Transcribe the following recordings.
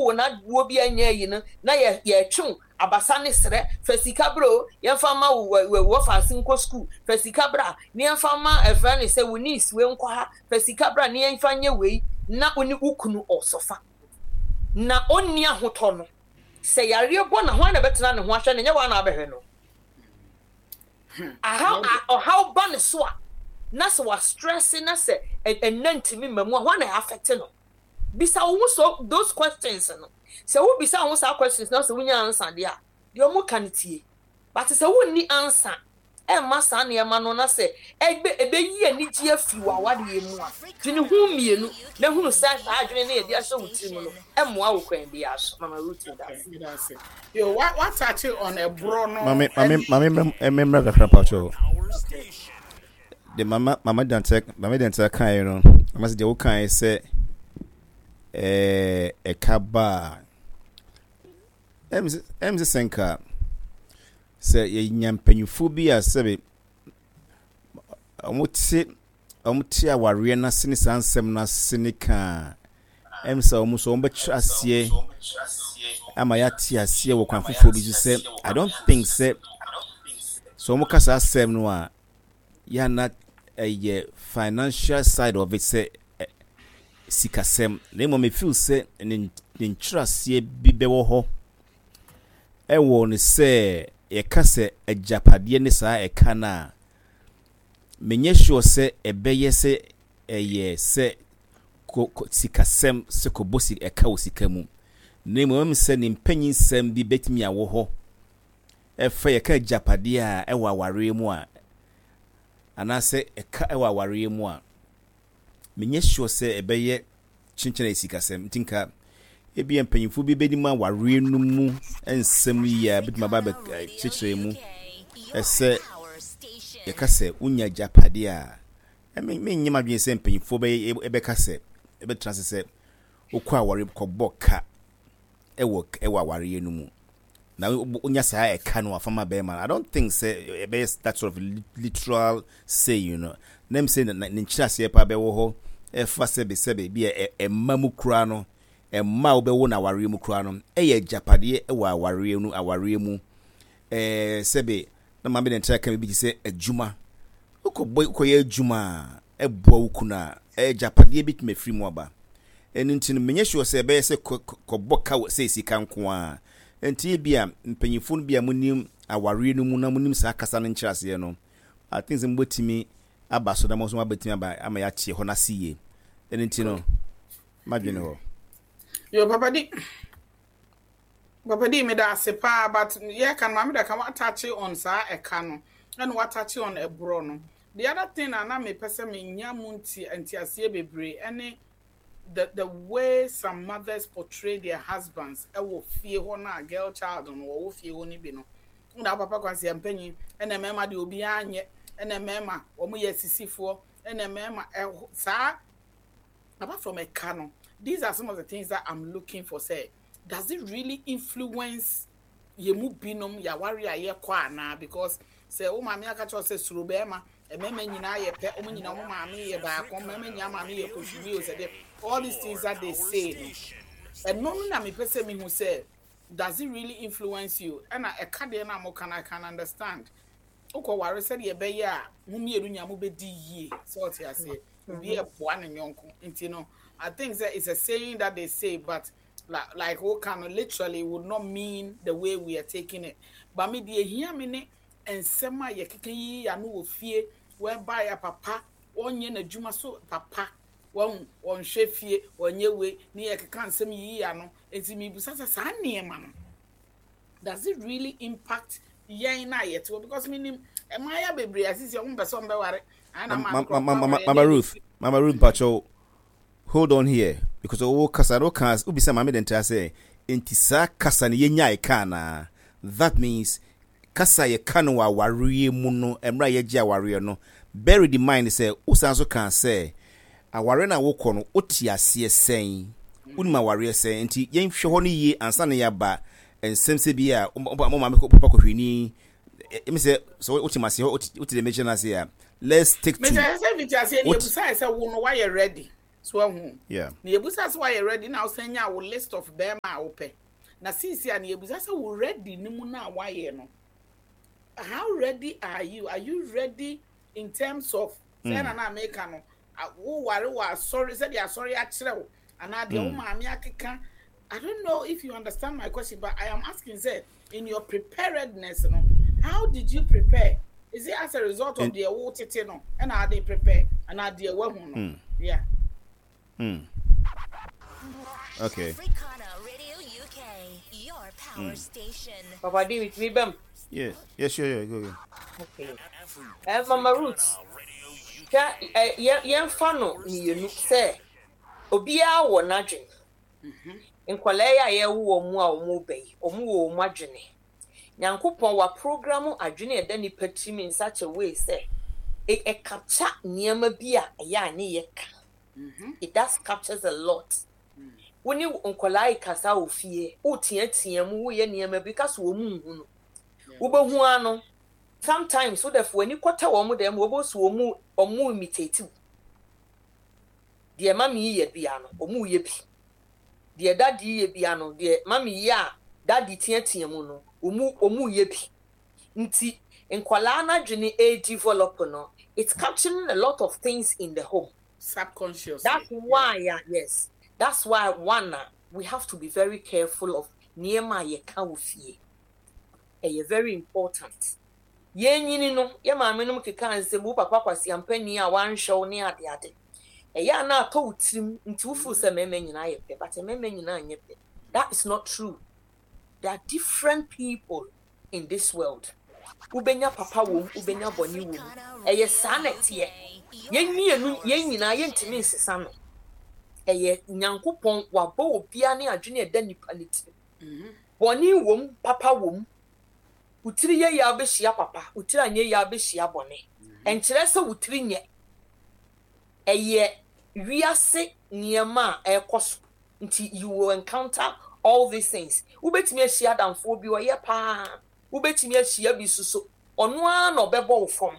Wowo na woɔ bi anyɛ ayi no na yɛ yɛtwe wo abasa ne serɛ, fa sika bra o, yɛmfa mma wo wɔ wɔfaase nkɔ sukuu, fa sika bra na yɛmfa mma ɛfrɛ no sɛ wo niece wei nkɔ ha, fa sika bra na yɛmfa nyɛ wei, na wo ne wo kunu ɔsɔfa na ɔnni ahotɔ no, sɛ yareɛ bɔ no a hwan na ɛbɛtena ne ho ahwɛ no, ɛnyɛ wo ara na wabɛhwɛ no. Ahaw a ɔhaw ba ne so a, na sɛ wastrɛse na sɛ ɛnna ntumi mma mu a, hwan na ɛafɛte no? Bisa wo ho so those questions no. Sɛ wo bisa wo ho saa questions no na sɛ wonya answer deɛ a, deɛ wɔn ka no tie. But sɛ wonni answer ɛmma saa nneɛma no na sɛ ɛbɛ ɛbɛyi anigyeɛ afiri w'awareɛ mu a, dwene ho mmienu na hunu sɛ saa adwene no a yɛde ahyɛ wo tirim no ɛmmoa wo kwan biara so. Mama Ruth meda ase. Meda ase. Yo, wa wa touch on ɛborɔ no. Mame mame mame mmra kakra mpakyɛw. De mama mama dantɛ mama dantɛ kaeɛ no mama sɛ deɛ wokaeɛ sɛ ɛɛ ɛka ba a ɛm sɛ ɛm sɛ sɛ nka sɛ yɛnya mpanyinfoɔ bi a sɛbe wɔte wɔte awareɛ no ase ne saa nsɛm no ase ne ka a ɛm sɛ wɔn nso wɔbɛkyerɛ aseɛ ama yɛate aseɛ wɔ kwan foforɔ bi so sɛ I don't think sɛ sɛ wɔn ka saa asɛm no a yɛ na ɛyɛ financial side of it sɛ sikasɛm na mmom me feel sɛ ne ne nkyerɛaseɛ bi bɛwɔ hɔ ɛwɔ ne sɛ yɛka sɛ agyapadeɛ ne saa ɛka no a menyɛ sure sɛ ɛbɛyɛ sɛ ɛyɛ sɛ kɔ kɔ sikasɛm sɛ kɔbɔ si ɛka wɔ sika mu na mmom ɛm sɛ ne mpanyinsɛm bi bɛtumi awɔ hɔ ɛfa yɛka agyapadeɛ a ɛwɔ awareɛ mu a anaasɛ ɛka ɛwɔ awareɛ mu a menyɛ sure sɛ ɛbɛyɛ kyenkyɛn ayɛ sikasɛm nti nka ebia mpanyinfoɔ bi bɛnim awareɛ no mu nsɛm yie a bɛtumi aba abɛkyerɛkyerɛ mu ɛsɛ yɛka sɛ wonya agyapadeɛ a menyɛ m'adwene sɛ mpanyinfoɔ bɛyɛ ɛbɛka sɛ ɛbɛtena ase sɛ wokɔ aware kɔbɔ ka ɛwɔ ɛwɔ awareɛ no mu na wonya saa ɛka no afa ma bɛrima no I don't think sɛ ɛbɛyɛ that sort of literal saying no na m sɛ ne nkyerɛaseɛ paa bɛwɔ hɔ ɛfa sɛbe sɛbe bi a ɛma mu koraa no ɛma a wobɛwo no awareɛ mu koraa no ɛyɛ agyapadeɛ ɛwɔ awareɛ no awareɛ mu ɛɛ sɛbe na maame de ntra ka bi te sɛ adwuma wokɔbɔ wokɔyɛ adwuma a ɛboa wo kunu a, agyapadeɛ bɛtumi afiri mu aba. Ɛno nti no, menyɛ sure sɛ ɛbɛyɛ sɛ kɔbɔ ka sɛ sika nko ara. Nti ebia mpanyinfoɔ no bi a monim awareɛ no mu na monim saa kasa no nkyerɛaseɛ no, I think sɛ mobɛtumi aba so na mo nso moabɛtumi aba ama yɛate ɛhɔ no ase yie. Ɛno nti no, madwene hɔ. Yo, Papa Di. Papa Di, meda ase paa, but yɛka no, maame da ka watouch on saa ɛka no, ɛna watouch on ɛborɔ no. The other thing a na mepɛ sɛ menya mu nti nteaseɛ bebree ɛne the the way some mothers portray their husbands ɛwɔ fie hɔ no a girl child no wɔwɔ fie hɔ no bi no. Wona wo papa kwan sɛ mpanyin ɛna mmarima deɛ obiara nyɛ ɛna mmarima wɔn yɛ asisifoɔ ɛna mmarima ɛho saa apart from ɛka no these are some of the things that I'm looking for sɛ does it really influence yɛn mu binom yɛaware a yɛkɔ anaa because sɛ wo maame aka kyerɛ wo sɛ suro bɛrima mmarima nyinaa yɛ pɛ wɔn nyinaa wɔn maame yɛ baako mmarima nyinaa maame yɛ kosumi o sɛ deɛ all these things that they say no ɛno no na mepɛ sɛ mehu sɛ does it really influence you ɛna ɛka deɛ no a moka no I can understand wokɔ ware sɛdeɛ ɛbɛyɛ a mo mmienu nyinaa mobɛdi yie sɛ ɔte aseɛ obi ɛboa ne yɔnko nti no I think sɛ it's a saying that they say but like woka no literally would not mean the way we are taking it but me deɛ ehia me ne nsɛm a yɛkeka yi ano wɔ fie whereby a papa ɔnyɛ n'adwuma so papa wɔn ɔnhwɛ fie ɔnyɛ wei ne yɛkeka nsɛm yiyi ano nti mibisa sɛ saa nneɛma no does it really impact yɛn na yɛte hɔ because menim mmaayɛ bebree asisi ɔmo mpɛ sɛ ɔmo bɛware Mama Ruth, Mama Ruth mpakyɛw hold on here because wo kasa no ka wobisa maame de ntra sɛ nti saa kasa no yɛnyae ka anaa that means kasa yɛka no wɔ awareɛ mu no mmerɛ a yɛgye awareɛ no bear in mind sɛ wosan so kaa sɛ awareɛ no a wokɔ no wote aseɛ sɛn wonim awareɛ sɛn nti yɛnhwɛ hɔ no yie ansa na yɛaba nsɛm sɛ bi a wo maame papa kɔhwɛni ɛmi sɛ sɛ wote ma aseɛ wote deɛ mekyerɛ no ase a let's take two mesɛ sɛ mfiti aseɛ ne yɛbusae sɛ wo no woayɛ ready. So ahu. Yeah. Na yɛbusa sɛ woayɛ ready na wosan nya wo list of bɛrima a wopɛ. Na seesei a na yɛbusa sɛ wo ready no mu no a woayɛ no, how ready are you? Are you ready in terms of sɛ na na meka no, woware wɔ asɔre sɛdeɛ asɔre akyerɛ wo anaa deɛ wo maame akeka. I don't know if you understand my question, but I am asking sɛ in your preparedness no, how did you prepare? Is it as a result of deɛ wo tete no ɛna ade prepare anaa deɛ wahu no? Yeah. Okay. Africana Radio UK, your power station. Papa D, with me bem. Yeah. Yeah, sure, yeah, go, go. Okay. Mama Ruth, hwɛ ɛ yɛmfa no mmienu sɛ obiara wɔ n'adwene. Nkwadaa yi a yɛwo wɔn a wɔreba yi, wɔn wɔ wɔn adwene. Nyankopɔn wa program adwene a ɛda nipa tirim in such a way sɛ ɛ ɛ capture nneɛma bi a ɛyɛ a ne yɛ ka. It does captures a lot. Wo ne nkwadaa yi kasa wɔ fie, woteatea mu, woyɛ nneɛma bi ka so wɔn nhu no. Wobɛhu ara no, sometimes wo dɛfo w'ani kɔtɛ wɔn dɛm, wɔbɛhu sɛ wɔn wɔn imitate wo. Deɛ mami yɛ bia no, wɔn yɛ bi. Deɛ daddy yɛ bia no, deɛ mami yɛ a daddy teatea mu no, wɔn wɔn yɛ bi. Nti nkwadaa n'adwene ɛredevelop no, it's capturing a lot of things in the home. Subconsciously. That's why, yeah. Yes. That's why one, we have to be very careful of nneɛma a yɛka wɔ fie. Ɛyɛ very important. Yɛn nyini no, yɛ maame nom keka nsɛm, wo papa kwasi ampani a wanhwɛ wo ne ade ade. Ɛyɛ a na atɔ wo tirim nti wo feel sɛ mmarima nyinaa yɛ pɛ, but mmarima nyinaa nyɛ pɛ. That is not true. There are different people in this world. Wobɛnya papa wom, wobɛnya bɔne wom. Ɛyɛ saa na ɛteɛ. Yɛn mmienu, yɛn nyinaa yɛntumi nsesa no. Ɛyɛ Nyankopɔn wabɔ obiara ne adwene a ɛda nipa ne tirim. Bɔne wom, papa wom. Wo tiri yɛ yie a wobɛhyia papa, wo tiri anyɛ yie a wobɛhyia bɔne. Ɛnkyerɛ sɛ wo tiri nyɛ. Ɛyɛ wiase nneɛma a ɛrekɔ so nti you will encounter all these things. Wobɛtumi ahyia adamfoɔ bi ɔyɛ paa, wobɛtumi ahyia bi nso so ɔno ara na ɔbɛbɔ wo fam.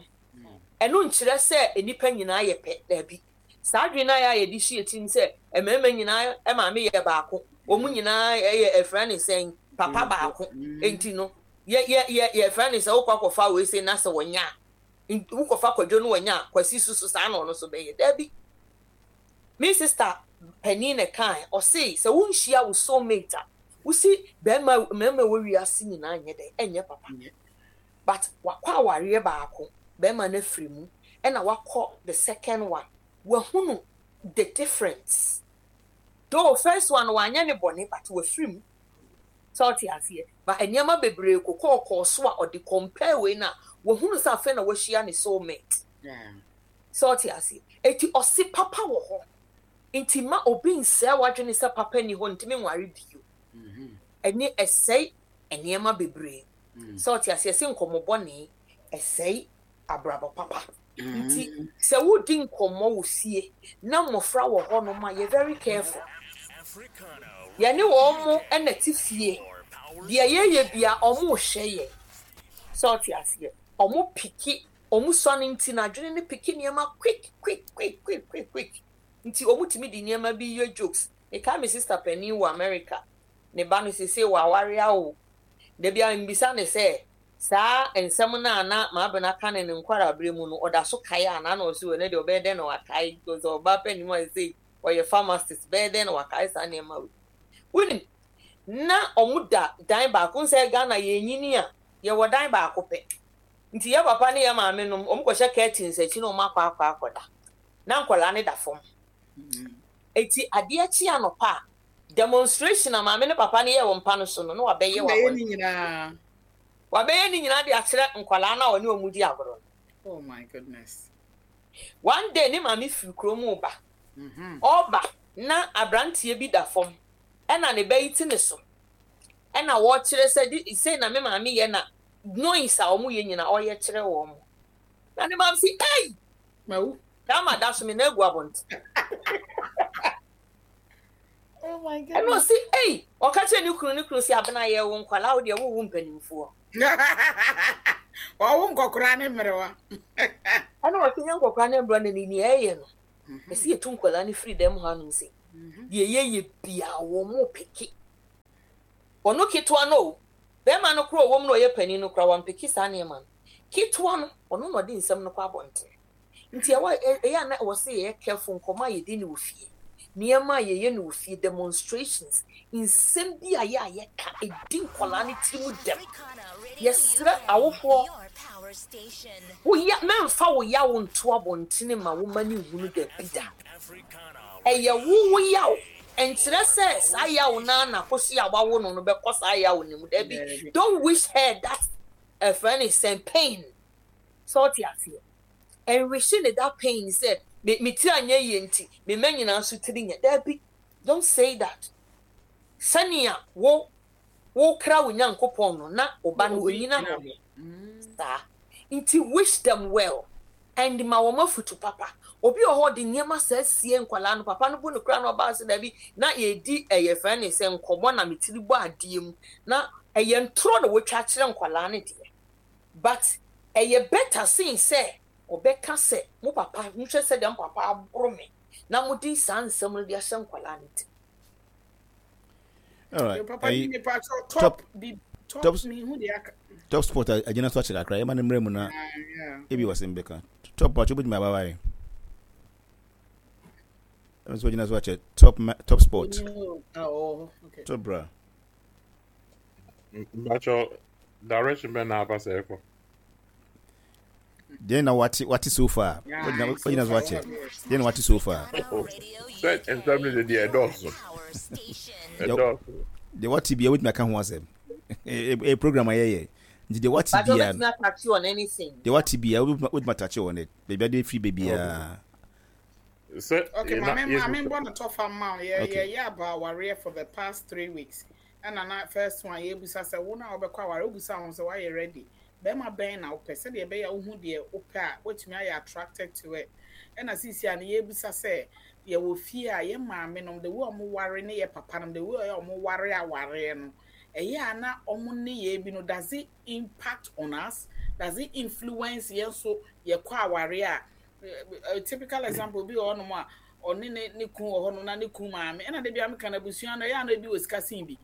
Ɛno nkyerɛ sɛ nnipa nyinaa yɛ pɛ, daabi. Saa adwene no a yɛde hyɛ tirim sɛ mmarima nyinaa maame yɛ baako, wɔn nyinaa yɛ ɛfrɛ ne sɛn papa baako nti no yɛ yɛ yɛ yɛfrɛ ne sɛ wokɔ akɔfa wei sɛ na sɛ wɔnya a wokɔfa kwadwo no wɔnya a kwasi so so saa na ɔno so bɛyɛ, daabi. Me sister panin na ɛkae, ɔse sɛ wonhyia wo soulmate a, wosi bɛrima mmarima wɔ wiase nyinaa nyɛ dɛn ɛnyɛ papa. But wakɔ awareɛ baako, bɛrima no afiri mu, ɛna wakɔ the second one, wahunu the difference. Though first one wanyɛ ne bɔne but wafiri mu. Sɛ ɔte aseɛ. But nneɛma bebree kokɔɔkɔɔ so a ɔde compare wei no a, wahunu sɛ afei na wahyia ne soulmate. Sɛ ɔte aseɛ. Eti ɔse papa wɔ hɔ. Nti ma obi nsɛe w'adwene sɛ papa ni hɔ ntumi nware bio. Ɛne ɛsɛe nneɛma bebree. Sɛ ɔte aseɛ sɛ nkɔmmɔ bɔne ɛsɛe abrabɔ papa. Nti sɛ wodi nkɔmmɔ wɔ fie na mmɔfra wɔ hɔ nom a yɛ very careful. Yɛne wɔn mo na te fie. Deɛ yɛyɛ bia wɔn rehwɛ yɛn. Sɛ ɔte aseɛ. Wɔn piki wɔn sua no nti no adwene no piki nneɛma quick quick quick quick quick quick nti wɔn tumi de nneɛma bi yɛ jokes. Mekae me sister panin wɔ America, ne ba no seesei waware awo. Da biara mibisa no sɛ saa nsɛm no a na Maabena ka no ne nkwadaa-bere mu no ɔda so kae anaa na ɔse ɛno deɛ ɔbɛyɛ dɛn na wakae because ɔbaa panin mu a seesei ɔyɛ pharmacist bɛyɛ dɛn na wakae saa nneɛma wei. Wonim na wɔn da dan baako nsɛ Ghana yɛnyini a yɛwɔ dan baako pɛ. Nti yɛ papa ne yɛ maame nom, wɔn kɔhyɛ curtains akyi na wɔn akɔ akɔ akɔda. Na nkwadaa no da fam. Eti adeɛ kye anɔpa a, demonstration a maame ne papa no yɛ wɔ mpa no so no, na wabɛyɛ wɔ abɔnten. Wabɛyɛ ne nyinaa de akyerɛ nkwadaa no a ɔne wɔn di agorɔ no. Oh my goodness. One day ne maame firi kurom reba. Ɔreba na aberanteɛ bi da fam ɛna ne ba yi te ne so. Ɛna wɔrekyerɛ sɛ sei na me maame yɛ na noise a wɔn yɛ nyinaa ɔyɛ kyerɛ wɔn. Na ne maame si ei! Mawu. Dama da so me na agu abɔnten. Oh my Ɛna goodness. ɔsi ei! Ɔka kyerɛ ne kunu ne kunu si abena yɛ wo nkwalaa wo deɛ wowo mpanimfoɔ. Ɔwo nkɔkora ne mmerewa. Ɛna ɔsi nyɛ nkɔkora ne mmerewa na ne nea ɛyɛ no. Ɛsɛ yɛtu nkwadaa no firi dɛm hanom sei. Deɛ yɛyɛ biara wɔn peke. Ɔno ketewa no o, bɛrima no koraa a ɔwɔ mu na ɔyɛ panin no koraa wampeke saa nneɛma no. Ketewa no, ɔno na ɔde nsɛm no kɔ abɔnten. Nti ɛwɔ ɛyɛ a na ɛwɔ sɛ yɛyɛ careful nkɔmmɔ a yɛdi no wɔ fie, nneɛma a yɛyɛ no wɔ fie, demonstrations, nsɛm bi a yɛ a yɛka, ɛdi nkwadaa no tiri mu dɛm. Yɛsrɛ awofoɔ, wo ya, mɛmfa wo yaw nto abɔntene ma wo mma no nhunu dabi da. Ɛyɛ wo wo yaw, ɛnkyerɛ sɛ saa yaw no ara na akosua a wawo no no bɛkɔ saa yaw no mu, dabi. Don't wish her that ɛfrɛ no sɛn pain. Sɛ ɔte aseɛ. Ɛnwihye ne that pain sɛ me me tiri anyɛ yie nti me mma nyinaa nso tiri nyɛ. Dabi, don't say that. Sɛnea wo wokra wo Nyankopɔn no na wo ba no onyina hɔ saa. Nti wish them well and ma wɔn afutu papa. Obi wɔ hɔ ɔde nneɛma saa sie nkwadaa no, papa no bu no koraa na ɔbaa sɛ dabi na yɛredi ɛyɛ fɛn ne sɛ nkɔmmɔ na me tiri bɔ adeɛ mu na ɛyɛ ntorɔ na wɔatwa akyerɛ nkwadaa no deɛ. But ɛyɛ better sen sɛ ɔbɛka sɛ mo papa monhwɛ sɛdeɛ mo papa aboro me na mode saa nsɛm no de ahyɛ nkwadaa no tirim. Alright. Ayi, top top top sport agyina so akyɛ kakra yɛma no mmerɛ mu na ebi wɔ sɛm bɛka top patro bɛtumi abawae ɛno nso agyina so akyɛ top top sport top bra Mpakyɛ direction bɛn na apa sɛ ɛkɔ. Deɛ na wate wate so far. Wagyina wagyina so akyɛ. Deɛ na wate so far. Sɛ nsɛm no de deɛ ɛdɔɔso. Ɛdɔɔso. Deɛ wate bia wotumi aka ho asɛm. Ɛyɛ program a yɛyɛ. Nti deɛ wate bia. Deɛ wate bia wotumi atache on it. Baabi ade firi baabiara. Sɛ Okay, maame maame mbɔ no tɔfa mma wo. Yɛ yɛ yɛ aba awareɛ for the past 3 weeks. Ɛna na first one yɛbusa sɛ wo na wobɛkɔ aware, wobusa ho sɛ woayɛ ready. Bɛrima bɛn na wopɛ sɛdeɛ ɛbɛyɛ a wohu deɛ wopɛ a woatumi ayɛ attracted to it. Ɛna seesei a no yɛbusa sɛ yɛwɔ fie a yɛ maame nom, the way ɔmo ware ne yɛ papa nom, the way ɔyɛ ɔmo ware awareɛ no, ɛyɛ a na ɔmo nneyɛɛ bi no, does it impact on us? Does it influence yɛn nso yɛkɔ aware a? A typical example bi wɔ hɔnom a ɔne ne ne kun wɔ hɔnom na ne kun maame ɛna de bia meka no abusua no ɛyɛ a na ebi wɔ sika sen bi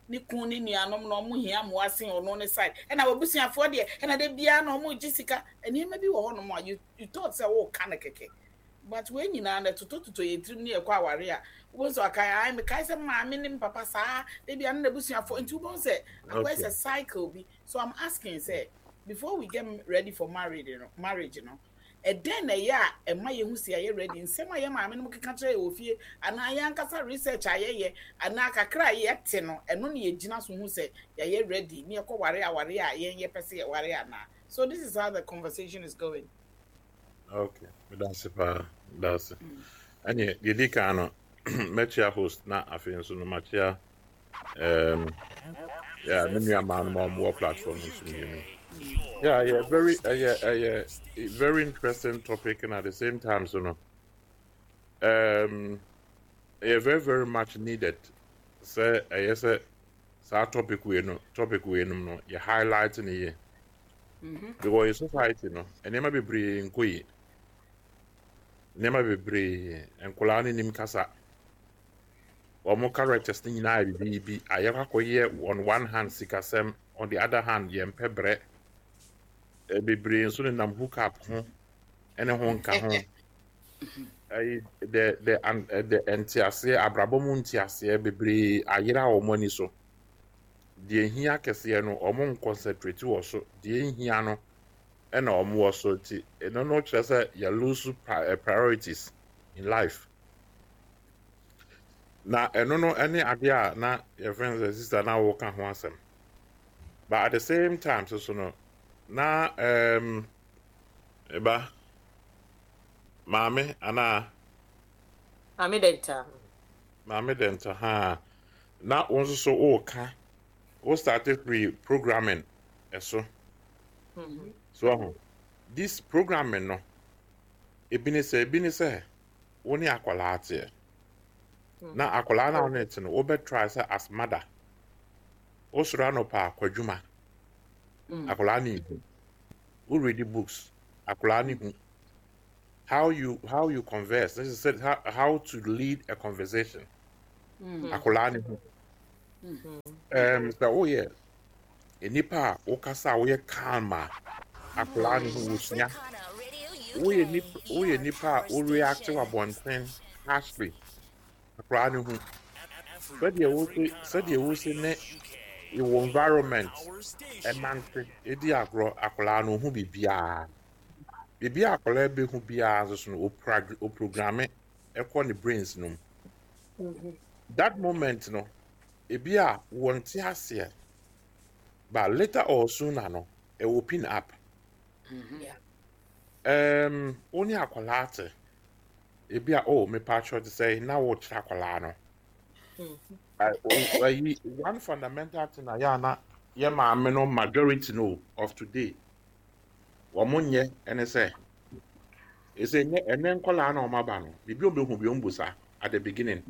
ne kun ne nuanom na ɔmo hia mmoa sen ɔno ne side ɛna wɔbusuafoɔ deɛ ɛna de bia na ɔmo gye sika nneɛma bi wɔ hɔnom a you thought sɛ wɔɔka no kɛkɛ, but wei nyinaa no ɛtotɔtotɔ yɛn tirim ne yɛkɔ aware a wobɛhu sɛ ɔkae ae mekae sɛ maame ne papa saa de bia ne n'abusuafoɔ nti wobɛhu sɛ akɔyɛ sɛ cycle bi. So I'm asking sɛ before we get ready for marriage no, ɛdɛn na ɛyɛ a ɛma yɛhu sɛ yɛayɛ ready? Nsɛm a yɛ maame no keka kyerɛ yɛ wɔ fie anaa yɛn ankasa research a yɛyɛ anaa kakra a yɛte no, ɛno ne yɛgyina so hu sɛ yɛayɛ ready ne yɛkɔ ware aware a yɛn yɛpɛ sɛ yɛware anaa? So this is how the conversation is going. Okay, medase paa, medase. Ɛneɛ deɛ di kan no, mɛkyia host na afei nso no makyia yeah, me nua maa no ma ɔmo wɔ platform no so mmienu. Yeah, very ɛyɛ ɛyɛ very interesting topic and at the same time so no ɛyɛ very very much needed sɛ ɛyɛ sɛ saa topic wei no, topic wei nom no yɛ highlight ne yie. Because yɛ society no, nneɛma bebree nkɔ yie. Nneɛma bebree, nkwadaa no nim kasa. Wɔn characters no nyinaa yɛ biribi ayɛ akɔyɛ. On one hand sikasɛm, on the other hand yɛn pɛ brɛ. Bebree nso nenam hook up ho ɛne ho nka ho. Ɛyi the an the nteaseɛ, abrabɔ mu nteaseɛ bebree ayera wɔn ani so. Deɛ hia kɛseɛ no wɔn nconcentrate wɔ so, deɛ nhia no ɛna wɔn wɔ so. Nti ɛno no kyerɛ sɛ yɛ lose priorities in life. Na ɛno no ɛne adeɛ a na yɛfrɛ no sɛ sister na wɔka ho asɛm. But at the same time so so no na ɛba maame anaa Maame Dɛnta. Maame Dɛnta ha na wɔn nso so wɔreka wo start free programming ɛso so ɔho this programming no, ebi ne sɛ wo ne akwadaa teɛ na akwadaa na wo ne te no, wobɛ try sɛ as mother wosoro anɔpa akɔ adwuma, akwadaa ne hu wo read books, akwadaa ne hu. How you how you converse, this is how, how to lead a conversation. Akwadaa ne ho. Sɛ woyɛ nipa a wokasa a woyɛ calm a, akwadaa ne ho wosua. Woyɛ nipa woyɛ nipa a wo react wɔ abɔnten harshly, akwadaa ne ho. Sɛdeɛ wose sɛdeɛ wose ne your environment ɛnante edi agorɔ, akwadaa no ohu biribiara. Biribi a akwadaa bɛhu biara nso so no, oprogramme ɛkɔ ne brains no mu. That moment no, ebi a wɔnte aseɛ, but later or sooner no, ɛwɔ pin up. Wo ne akwadaa te, ebi a oh mepa akyerɛ te sɛ na wɔkyerɛ akwadaa no. Ayi one fundamental thing a yɛ ana yɛ maame no majority no of today wɔn nyɛ ɛne sɛ ɛsɛ nyɛ ɛnɛ nkɔlaa na wɔn aba no biribi wɔn bɛhu bi wɔn busa at the beginning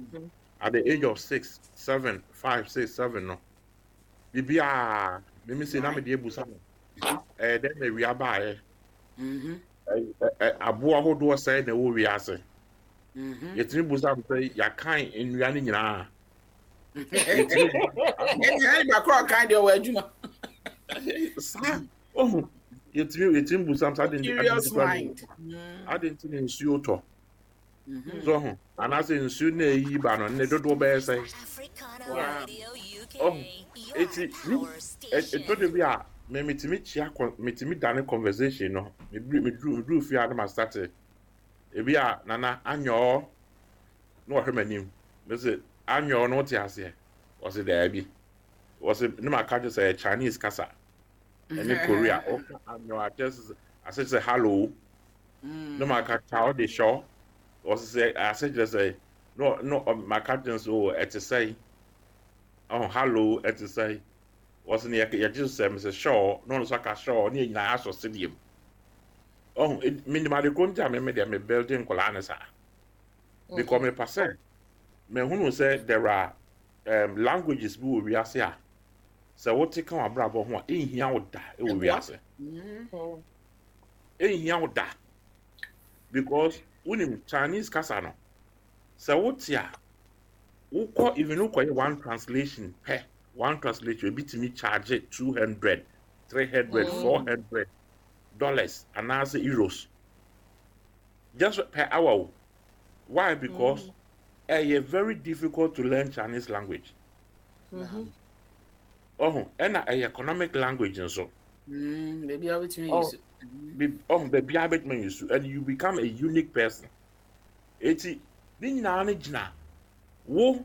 at the age of 6, 7, 5, 6, 7 no biribiara mímí sɛ na mi de ebusa no ɛyɛ dɛ na ewia baayɛ ɛ aboa ahodoɔ sɛɛ na ɛwɔ wiase yɛtumi busa no sɛ yɛakan nnua no nyinaa yɛtumi Ɛnyɛ nipa korɔ ɔkan deɛ ɔwɔ adwuma. Saa ohu yɛtumi busa no sɛ adi nti Curious mind. Adi nti na nsuo tɔ so ho anaasɛ nsuo na eyi ba no ne dodoɔ bɛyɛ sɛ ɔho eti ni ɛtɔ de bi a mɛ metumi kyia kɔ metumi dane conversation no meduru meduru meduru fie a na ma start ebi a nana anyɔɔ na wɔhwɛ m'anim mese anyɔɔ no wote aseɛ wɔse daabi wɔse ne ma ka kyerɛ sɛ ɛyɛ Chinese kasa ɛne Korea wɔka anyɔɔ akyerɛ sɛ ase sɛ hello ne ma ka kyao de hyɛ wɔse sɛ ase kyerɛ sɛ no no ma ka kyerɛ sɛ o ɛte sɛ ɔho hello ɛte sɛ wɔse ne yɛgye sɛ mesɛ hyɛ na ɔno nso aka hyɛ ne yɛ nyinaa asɔ sedeɛ mu ɔho menim ade ko nti a meme deɛ me building nkɔlaa ne saa because mepa sɛ mehunu sɛ there are languages bi wɔ wiase a sɛ wote ka w'abrabɔ ho a ɛnhia wo da wɔ wiase ɛnhia wo da because wonim Chinese kasa no sɛ wote a wokɔ even wokɔyɛ one translation pɛ one translation ebi tumi charge 200, 300, $400 anaasɛ euros just per hour o. Why? Because ɛyɛ very difficult to learn Chinese language. Ɔho ɛna ɛyɛ economic language nso. Baabi a wobɛtumi ayi so. Ɔho baabi a wobɛtumi ayi so and you become a unique person. Eti ne nyinaa no gyina wo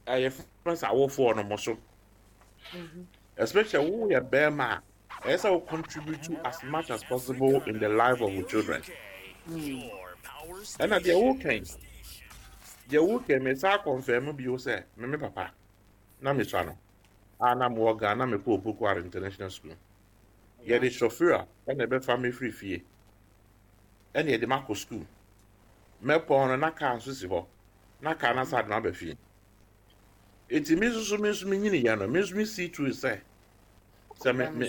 ɛyɛ fɛn sɛ awofoɔ no mo so. Especially wo yɛ bɛrima a ɛyɛ sɛ wo contribute as much as possible in the life of your children. Ɛna deɛ wokan me saa confirm bio sɛ me papa na mesua no a na mewɔ Ghana na mekɔ Opoku International School. Yɛde chauffeur a ɛna ɛbɛfa me firi fie ɛna yɛde makɔ school. Mɛpɔn no na kaa nso si hɔ na kaa no asa de maba fie. Eti me nso so me nso me nyini yɛ no me nso me see to it sɛ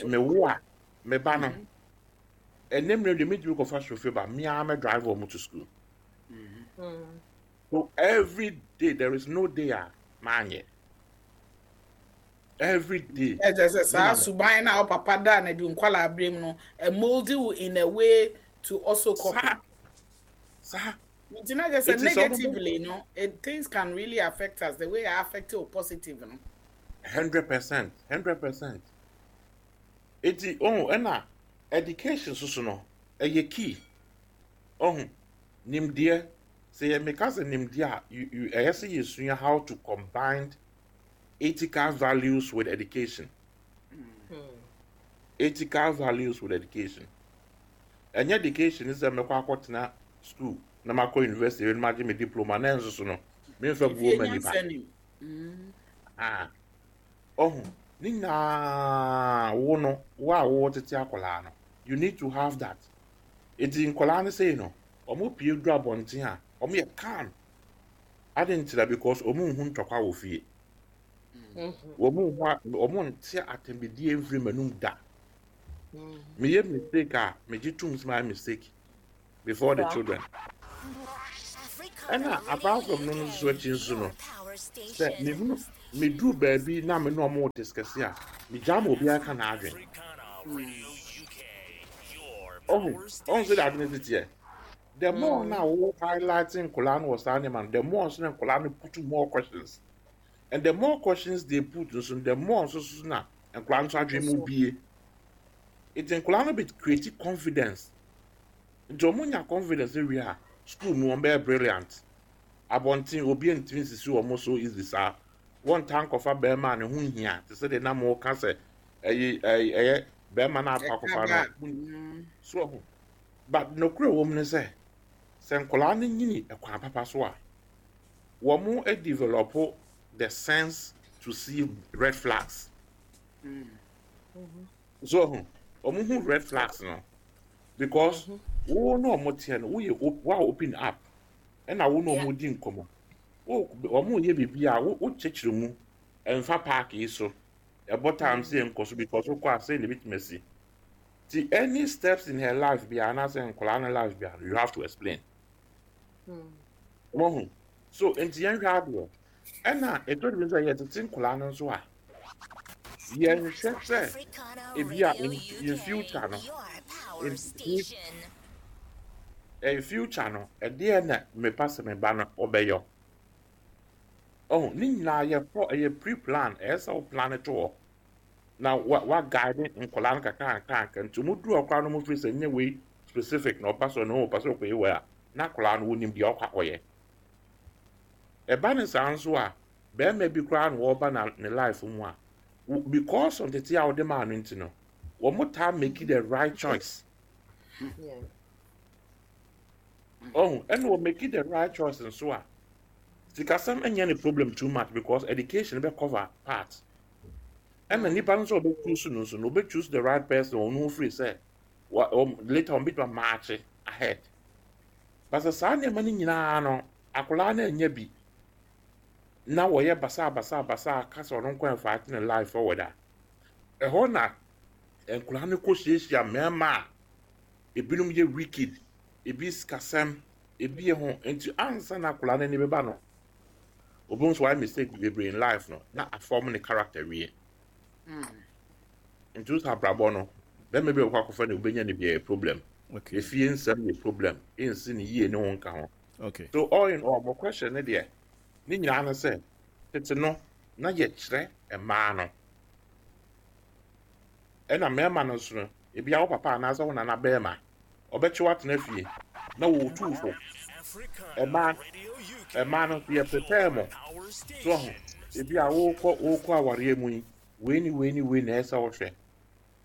me wo a me ba no ɛnɛ mmerɛ deɛ metumi kɔfa chauffeur ba me ara mɛ drive wɔn to school. So every day there is no day a maanyɛ. Every day. Ɛkyɛ sɛ saa suban na wo papa da na di nkwala abere mu no, mold you in a way to also copy. Saa. Nti na kyerɛ sɛ negatively no, things can really affect us the way it affect you positive no. 100%, 100%. Eti oh ɛna education soso no ɛyɛ key. Oh nimdeɛ sɛ yɛ meka sɛ nimdeɛ a ɛyɛ sɛ yɛsua how to combine ethical values with education. Ethical values with education. Ɛnyɛ education sɛ mɛkɔ akɔtena school na makɔ university na magye me diploma na ɛnso so no memfa buo ma nipa. Ah, ɔho ne nyinaa wo no wo a wo tete akwadaa no you need to have that. Eti nkwadaa no sei no wɔn pie du abɔnten a wɔn yɛ calm. Adi nkyerɛ because wɔn nhu ntɔkwa wɔ fie. Wɔn nhu wɔn nte atɛnbidie mfiri m'anum da. Meyɛ mistake a megye tum sɛ mayɛ mistake before the children. Ɛna apart from no no nso akyi nso no, sɛ mehunu meduru baabi na me ne ɔmo discuss a, megyaa ma obiara ka n'adwene. Ɔho, ɔho sɛ de ade no teteɛ. The more na wo highlighting nkɔlaa no wɔ saa nneɛma no, the more nso na nkɔlaa no put more questions. And the more questions they put nso, the more nso so na nkɔlaa no nso adwene mu bie. Nti nkɔlaa no bɛ create confidence. Nti wɔn nya confidence wie a, school mu wɔn bɛyɛ brilliant. Abɔnten obi ntumi nsisi wɔn so easy saa. Wɔntaa nkɔfa bɛrima a ne ho nhia te sɛ deɛ na mo ka sɛ ɛyɛ ɛyɛ bɛrima no akɔ akɔfa no. So ɔho. But nokorɛ wɔ mu ne sɛ, sɛ nkwadaa no nyini kwan papa so a, wɔn develop the sense to see red flags. So ɔho, wɔn hu red flags no because wo ne wɔn teɛ no, woyɛ wa open up ɛna wo ne wɔn di nkɔmɔ. Wo wɔn yɛ biribi a wo kyekyere mu ɛnfa park yi so ɛbɔ time sɛ nkɔ so because wokɔ a sɛ na ebitumi asi. Ti any steps in her life bi anaasɛ nkwadaa no life bi you have to explain. Wɔn ho so nti yɛn hwɛ adeɛ ɛna ɛtɔ de bi nso yɛ tete nkwadaa no nso a yɛnhwɛ sɛ ebi a in future no in future no ɛdeɛ na mepa sɛ me ba no ɔbɛyɔ. Ɔho ne nyinaa yɛ kɔ ɛyɛ pre plan ɛyɛ sɛ wo plan to hɔ. Na wa wa guide nkwadaa no kakra kakra kakra nti wɔn duru ɔkora no wɔn firi sɛ nyɛ wei specific na ɔpa so na ɔpa so ɔkɔyɛ wei a na akwadaa no wɔnim deɛ ɔkɔ akɔyɛ. Ɛba ne saa nso a bɛrima bi koraa na ɔreba na ne life mu a because of tete a wɔde maa no nti no wɔn taa make the right choice. Ɔho ɛna wɔ make the right choice nso a sikasɛm nyɛ ne problem too much because education bɛ cover part. Ɛna nipa no nso a ɔbɛ choose no nso no ɔbɛ choose the right person ɔno ho firi sɛ wa ɔm later ɔmo betuma march ahead. But sɛ saa nneɛma no nyinaa no akwadaa no anya bi na wɔyɛ basaa basaa basaa ka sɛ ɔno nko ɛfa ate ne life forward a ɛhɔ na nkwadaa no kɔ hyiahyia mmarima a ebinom yɛ wicked, ebi sikasɛm, ebi yɛ ho nti ansa na akwadaa no ani bɛba no obi nso wayɛ mistake bebree in life no na afɔm ne character wie. Nti wosɛ abrabɔ no bɛrima bi a ɔkɔ akɔfa no obɛnya no bi yɛ problem. Okay. Efie nsɛm yɛ problem, ɛnsi ne yie ne ho nka ho. Okay. So all in all, mo question ne deɛ ne nyinaa ne sɛ tete no na yɛkyerɛ mmaa no ɛna mmarima no nso no ebi a wo papa anaasɛ wo nana bɛrima ɔbɛkye wo atena fie na wɔretu fo. Mmaa mmaa no nso yɛ prepare mo so ho ebi a wokɔ wokɔ awareɛ mu yi wei ne wei ne wei na ɛsɛ wohwɛ.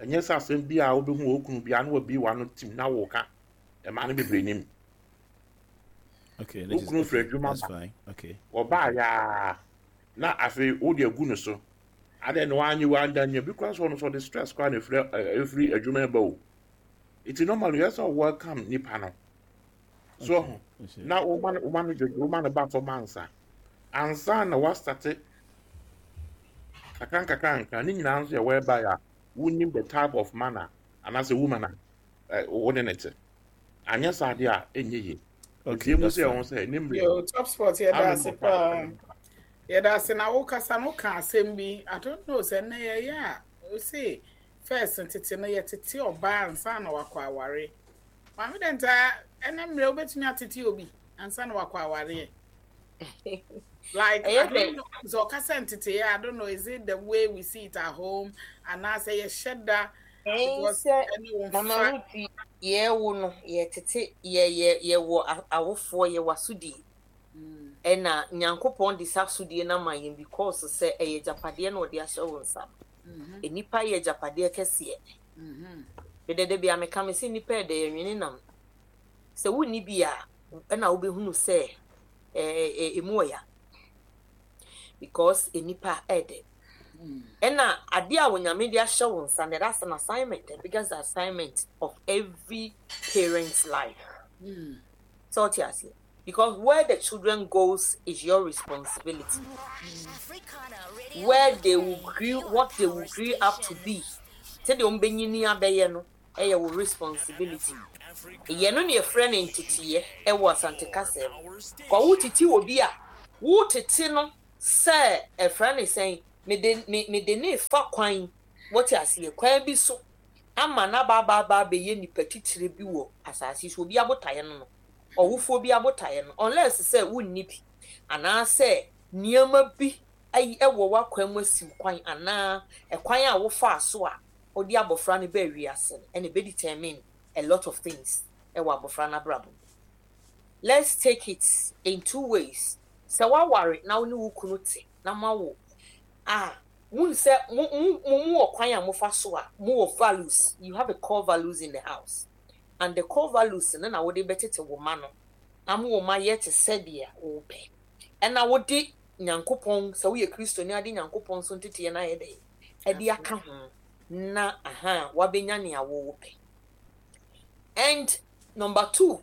Ɛnyɛ sɛ asɛm bi a wobɛhu wɔ kunu bi a na wabie w'ano tim na woka. Mmaa no bebree nim. Okay, Wo kunu firi adwuma that's ba. fine. Okay. Wɔbaa yaa na afei wode agu no so. Adɛn na wanyɛ wanda nya bi koraa sɛ ɔno nso ɔde stress koraa na efiri efiri adwuma ba o. Nti normally yɛ sɛ welcome nipa no. So ɔho na woma no woma no dwodwo woma no ba fam ansa. Ansa na wasate kakra nkakra nkra ne nyinaa nso yɛ whereby a wonim the type of man a anaasɛ woman a wo ne ne te. Anyɛ saa deɛ a ɛnyɛ yie. Okay, Nti emu that's sɛ ɛho fine. sɛ ne mmerɛ Yo, top spot yɛda ase Amen. paa. Yɛda ase na wokasa no woka asɛm bi. I don't know sɛ nnɛ yɛyɛ a wose first tete no yɛtete ɔbaa ansa na wakɔ aware. Maame dɛ ntaa ɛnɛ mmerɛ wobɛtumi atete obi ansa na wakɔ awareɛ. Like, I Ɛyɛ don't dɛ know. So, ɔkasa nteteyɛ, I don't know, is it the way we see it at home? Anaasɛ yɛhyɛ da ɛn because sɛ ɛne wo Mama mfa. Ruth yɛwo no yɛtete yɛ yɛ yɛwɔ awofoɔ yɛwɔ asodie ɛna Nyankopɔn de saa asodie no ama yɛn because sɛ ɛyɛ agyapadeɛ na ɔde ahyɛ wo nsa. Nnipa yɛ agyapadeɛ kɛseɛ. Mede da bi a meka me sɛ nnipa yɛ dɛ yɛnwene nam. Sɛ wonni bi a ɛna wobɛhunu sɛ ɛmu ɔya because nnipa ɛdɛ. Ɛna adeɛ a Onyame de ahyɛ wo nsa no, that's an assignment, the biggest assignment of every parent's life. So ɔte aseɛ. Because where the children goes is your responsibility. Where they will grow, what they will grow up to be. Sɛdeɛ wɔn bɛnyini abɛyɛ no, ɛyɛ wo responsibility. Yɛ no na yɛfrɛ no nteteyɛ wɔ Asante kasa mu. Kɔ wo tete obi a, wo tete no sɛ ɛfrɛ no sɛn, mede me mede no refa kwan, wote aseɛ, kwan bi so ama no aba aba aba abɛyɛ nipa titire bi wɔ asase so, obi abotaeɛ no no, ɔwofoɔ bi abotaeɛ no, unless sɛ wonni bi, anaasɛ nneɛma bi ayi wɔ w'akwan mu asiw kwan anaa ɛkwan a wofaa so a wode abɔfra no baa wiase no ɛna ɛbɛ determine a lot of things wɔ abɔfra no abrabɔ mu. Let's take it in two ways, sɛ woaware na wo ne wo kunu te na moawo a, mohu sɛ mo mo mo wɔ kwan a mofa so a mowɔ values, you have a core values in the house and the core values no na wode bɛtete wo mma no ama wɔn ayɛ te sɛdeɛ wopɛ. Ɛna wode Nyankopɔn, sɛ woyɛ Kristoni a, wode Nyankopɔn nso nteteɛ no ayɛ dɛn? Ɛde aka ho na aha wabɛnya nea wopɛ. And number two,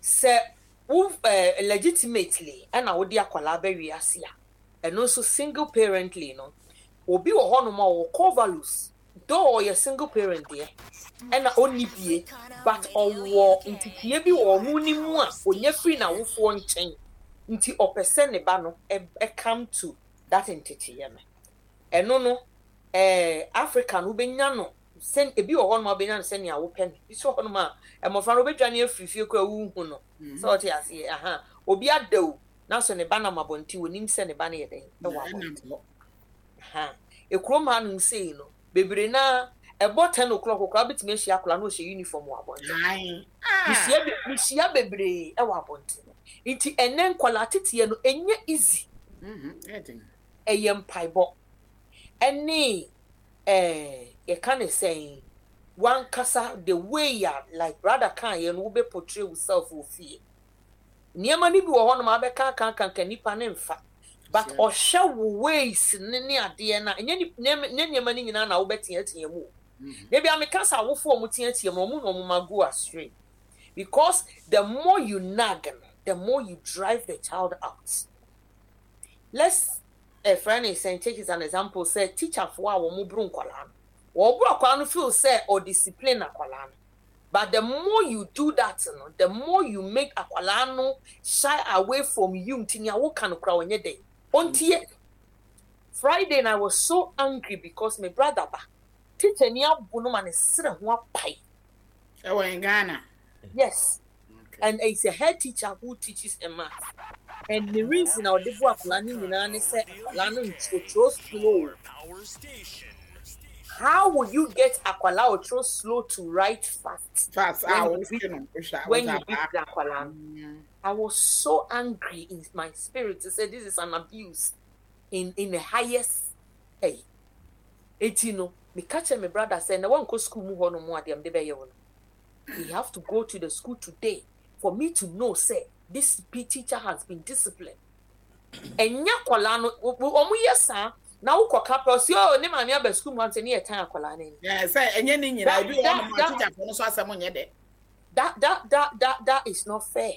sɛ wo eh, legitimately ɛna wode akwadaa ba wiase a, ɛno nso single parently no, obi wɔ hɔnom a ɔwɔ core values, though ɔyɛ single parent deɛ, ɛna ɔnni bie, but ɔwɔ nteteɛ bi wɔ ɔno ne mu a ɔnya firi n'awofoɔ nkyɛn, nti ɔpɛ sɛ ne ba no come to that nteteɛ no. Ɛno no, eh, Africa no wobɛnya no sɛ, ebi wɔ hɔnom a wobɛnya no sɛnea wopɛ no, ebi nso wɔ hɔnom a mmɔfra no wobɛdwane afiri fie koraa wonhu no, sɛ ɔte aseɛ, aha, obi ada o, nanso ne ba nam abɔnten, onim sɛ ne ba no yɛ dɛn, ɛwɔ abɔnten. Aha, ekurom hanom sei no, bebree no ara, ɛbɔ ten o'clock koraa wobɛtumi ahyia akwadaa na ɔhyɛ uniform wɔ abɔnten. Mehyia be, mehyia bebree wɔ abɔnten. Nti ɛnɛ nkwadaa teteɛ no, ɛnyɛ easy. Ɛyɛ mpaebɔ ɛne ɛɛ yɛka ne sɛn, wankasa the way a like brother kaeɛ no wobɛ portray wo self wɔ fie. Nneɛma no bi wɔ hɔnom a wobɛka aka aka nka nipa no mfa but ɔhwɛ wo ways no ne adeɛ no a ɛnyɛ nyɛ nneɛma no nyinaa na wobɛteatea mu o. Da bi a meka sɛ awofo a wɔteatea mu no wɔn na wɔn ma go astray because the more you nag no the more you drive the child out. Let's ɛfrɛ ne sɛn take it as an example sɛ teacherfoɔ a wɔn boro nkwadaa no wɔboro akwadaa no feel sɛ ɔdiscipline akwadaa no. But the more you do that no, the more you make akwadaa no shy away from you nti nea woka no koraa ɔnyɛ dɛn, ɔntie. Friday no I was so angry because me brother ba, teacher ni abo no ma ne serɛ ho apae. Ɛwɔ in Ghana? Yes. Okay. And it's a head teacher who teaches a math. And the reason a ɔde bo akwadaa no nyinaa ne sɛ akwadaa no ntwerɛtwerɛ slow. How will you get akwadaa a ɔtwerɛ slow to write fast? Fast, when ah, you beat, when you beat the akwadaa no. I was so angry in my spirit to say this is an abuse in in the highest. Hey, eti no, me catch my brother say na wankɔ school mu hɔ no mu adeɛ mede bɛyɛ wo no. He have to go to the school today for me to know say this teacher has been disciplined. Ɛnyɛ akwadaa no, wɔn yɛ saa na wokɔ ka pɛ ɔsi oh ne maame aba sukuu mu ante ne yɛ tan akwadaa no ani. Yeah, sɛ ɛnyɛ ne nyinaa ebi wɔ hɔnom a teacherfoɔ no so asɛm nyɛ dɛ. That that that that that is not fair.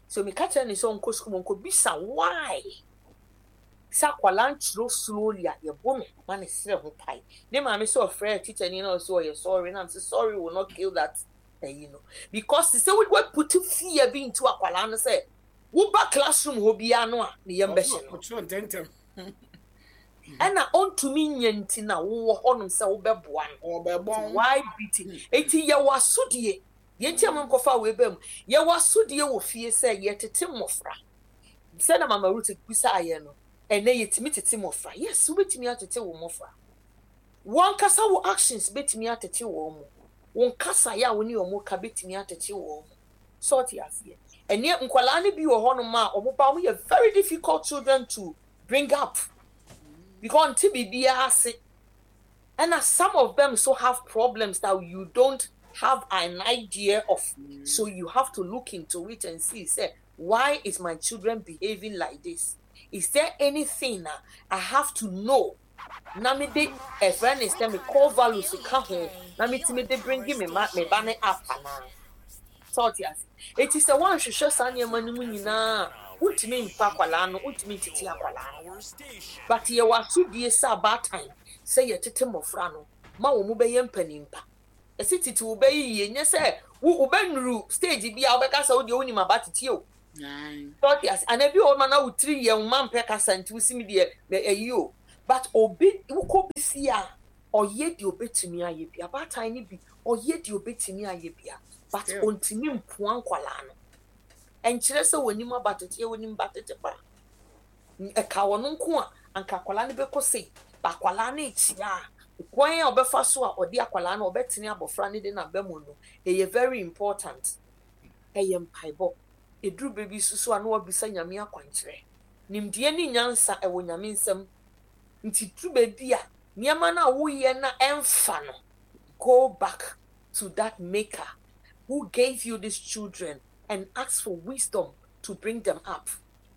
So meka kyerɛ ne sɛ ɔnkɔ sukuu mu ɔnkɔ bisa why sɛ akwadaa nkyerɛw slowly a yɛbɔ no ma ne serɛ ho pae. Ne maame sɛ ɔfrɛ teacher ni na ɔsɛ ɔyɛ sorry na sɛ sorry will not kill that ɛyi no because sɛ wo put fear bi into akwadaa no sɛ Woba classroom hɔ biara no a, ne yam bɛhye no. Ɔkyerɛ ntɛmntɛm. Ɛna ɔntumi nyɛ nti na wowɔ hɔnom sɛ wobɛboa no. Ɔbɛbɔn. Why beating? Enti yɛwɔ asodie. Deɛ nti a menkɔfa wei ba mu, yɛwɔ asodie wɔ fie sɛ yɛtete mmɔfra. Sɛdeɛ Mama Ruth bisaeɛ no, ɛnnɛ yɛtumi tete mmɔfra. Yes, wobɛtumi atete wo mmɔfra. Wo ankasa wo actions bɛtumi atete wɔn mo. Wo nkasaeɛ a wo ne wɔn ka bɛtumi atete wɔn mo. So ɔte aseɛ? Ɛneɛ nkwadaa no bi wɔ hɔnom a wɔn ba wɔn yɛ very difficult children to bring up because ɔnte biribiara ase. Ɛna some of them so have problems that you don't have an idea of. So you have to look into it and see sɛ why is my children behaving like this? Is there anything a I have to know na mede ɛfrɛ ne sɛ me core values ka ho na metumi de bringi me ma me ba no up anaa? Sɛ ɔte ase? Eti sɛ woanhwehwɛ saa nneɛma no mu nyinaa a, wontumi mfa akwadaa no, wontumi ntete akwadaa no. But yɛwɔ asodie sɛ abaatan sɛ yɛtete mmɔfra no ma wɔn bɛyɛ mpanimpa. Ɛsɛ tete wo ba yi yie, nyɛ sɛ Wo wobɛnuru stage bi a wobɛka sɛ wo deɛ wonim aba tete o. Sɛ ɔte ase anaa bi wɔ hɔ ma na wo tiri yɛ wo mma mpɛ kasa nti wosi me deɛ ɛyi o. But obi wokɔ bi fie a ɔyɛ deɛ obetumi ayɛ bi. Abaatan no bi ɔyɛ deɛ obetumi ayɛ bi a but ontumi mpoa nkwadaa no. Ɛnkyerɛ sɛ wɔnim aba tete, wɔnim ba tete paa. Ɛka wɔn nko a anka akwadaa no bɛkɔ sei. But akwadaa no rekyea a, kwan a ɔbɛfa so a ɔde akwadaa no ɔbɛtene abɔfra no de no aba mu no, ɛyɛ very important. Ɛyɛ mpaebɔ. Ɛduru berɛ bi nso so a na wabisa Nyame akwankyerɛ. Nimdeɛ ne nyansa ɛwɔ Nyame nsam. Nti duru baabi a nneɛma no a woyɛ no a ɛmfa no, go back to that maker who gave you these children and ask for wisdom to bring them up.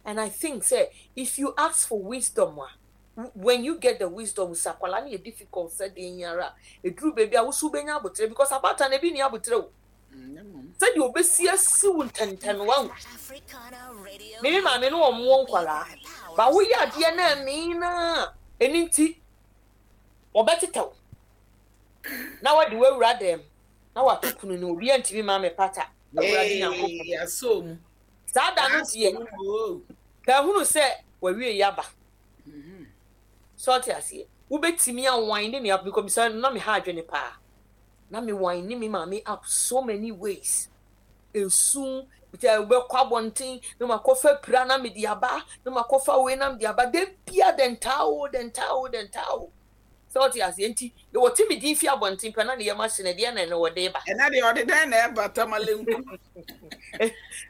And I think sɛ if you ask for wisdom a, when you get the wisdom sɛ akwadaa no yɛ difficult sɛ den yi ara a, ɛduru baabi a wo so wobɛnya aboterɛ because abaatan no ebi nni aboterɛ o. Sɛdeɛ ɔbɛsi asi wo ntɛntɛn wahu. Me me maame no ɔmmoɔ nkwadaa ba woyɛ adeɛ no ɛmee no a ɛno nti wɔbɛtetɛw na wɔde wawura dɛm na wato kunu no obi antumi ma me pata awurade nyankopɔn saa da no deɛ ka hunu sɛ wawie yaba sɛ ɔte aseɛ wobɛtumi awan ne nea because na me ha adwene paa Na me wine me maame up so many ways. Esu, sɛ wobɛkɔ abɔnten na makɔfa pira na mede aba, na makɔfa wei na mede aba. Da bia dɛntaa o, dɛntaa o, dɛntaa o. Sɛ ɔte aseɛ nti, wɔte me din fi abɔnten pɛ na ne yam ahye no, ɛdeɛ na ɛne wɔde ba. Ɛna deɛ ɔde dɛn na ɛba Tamale nku.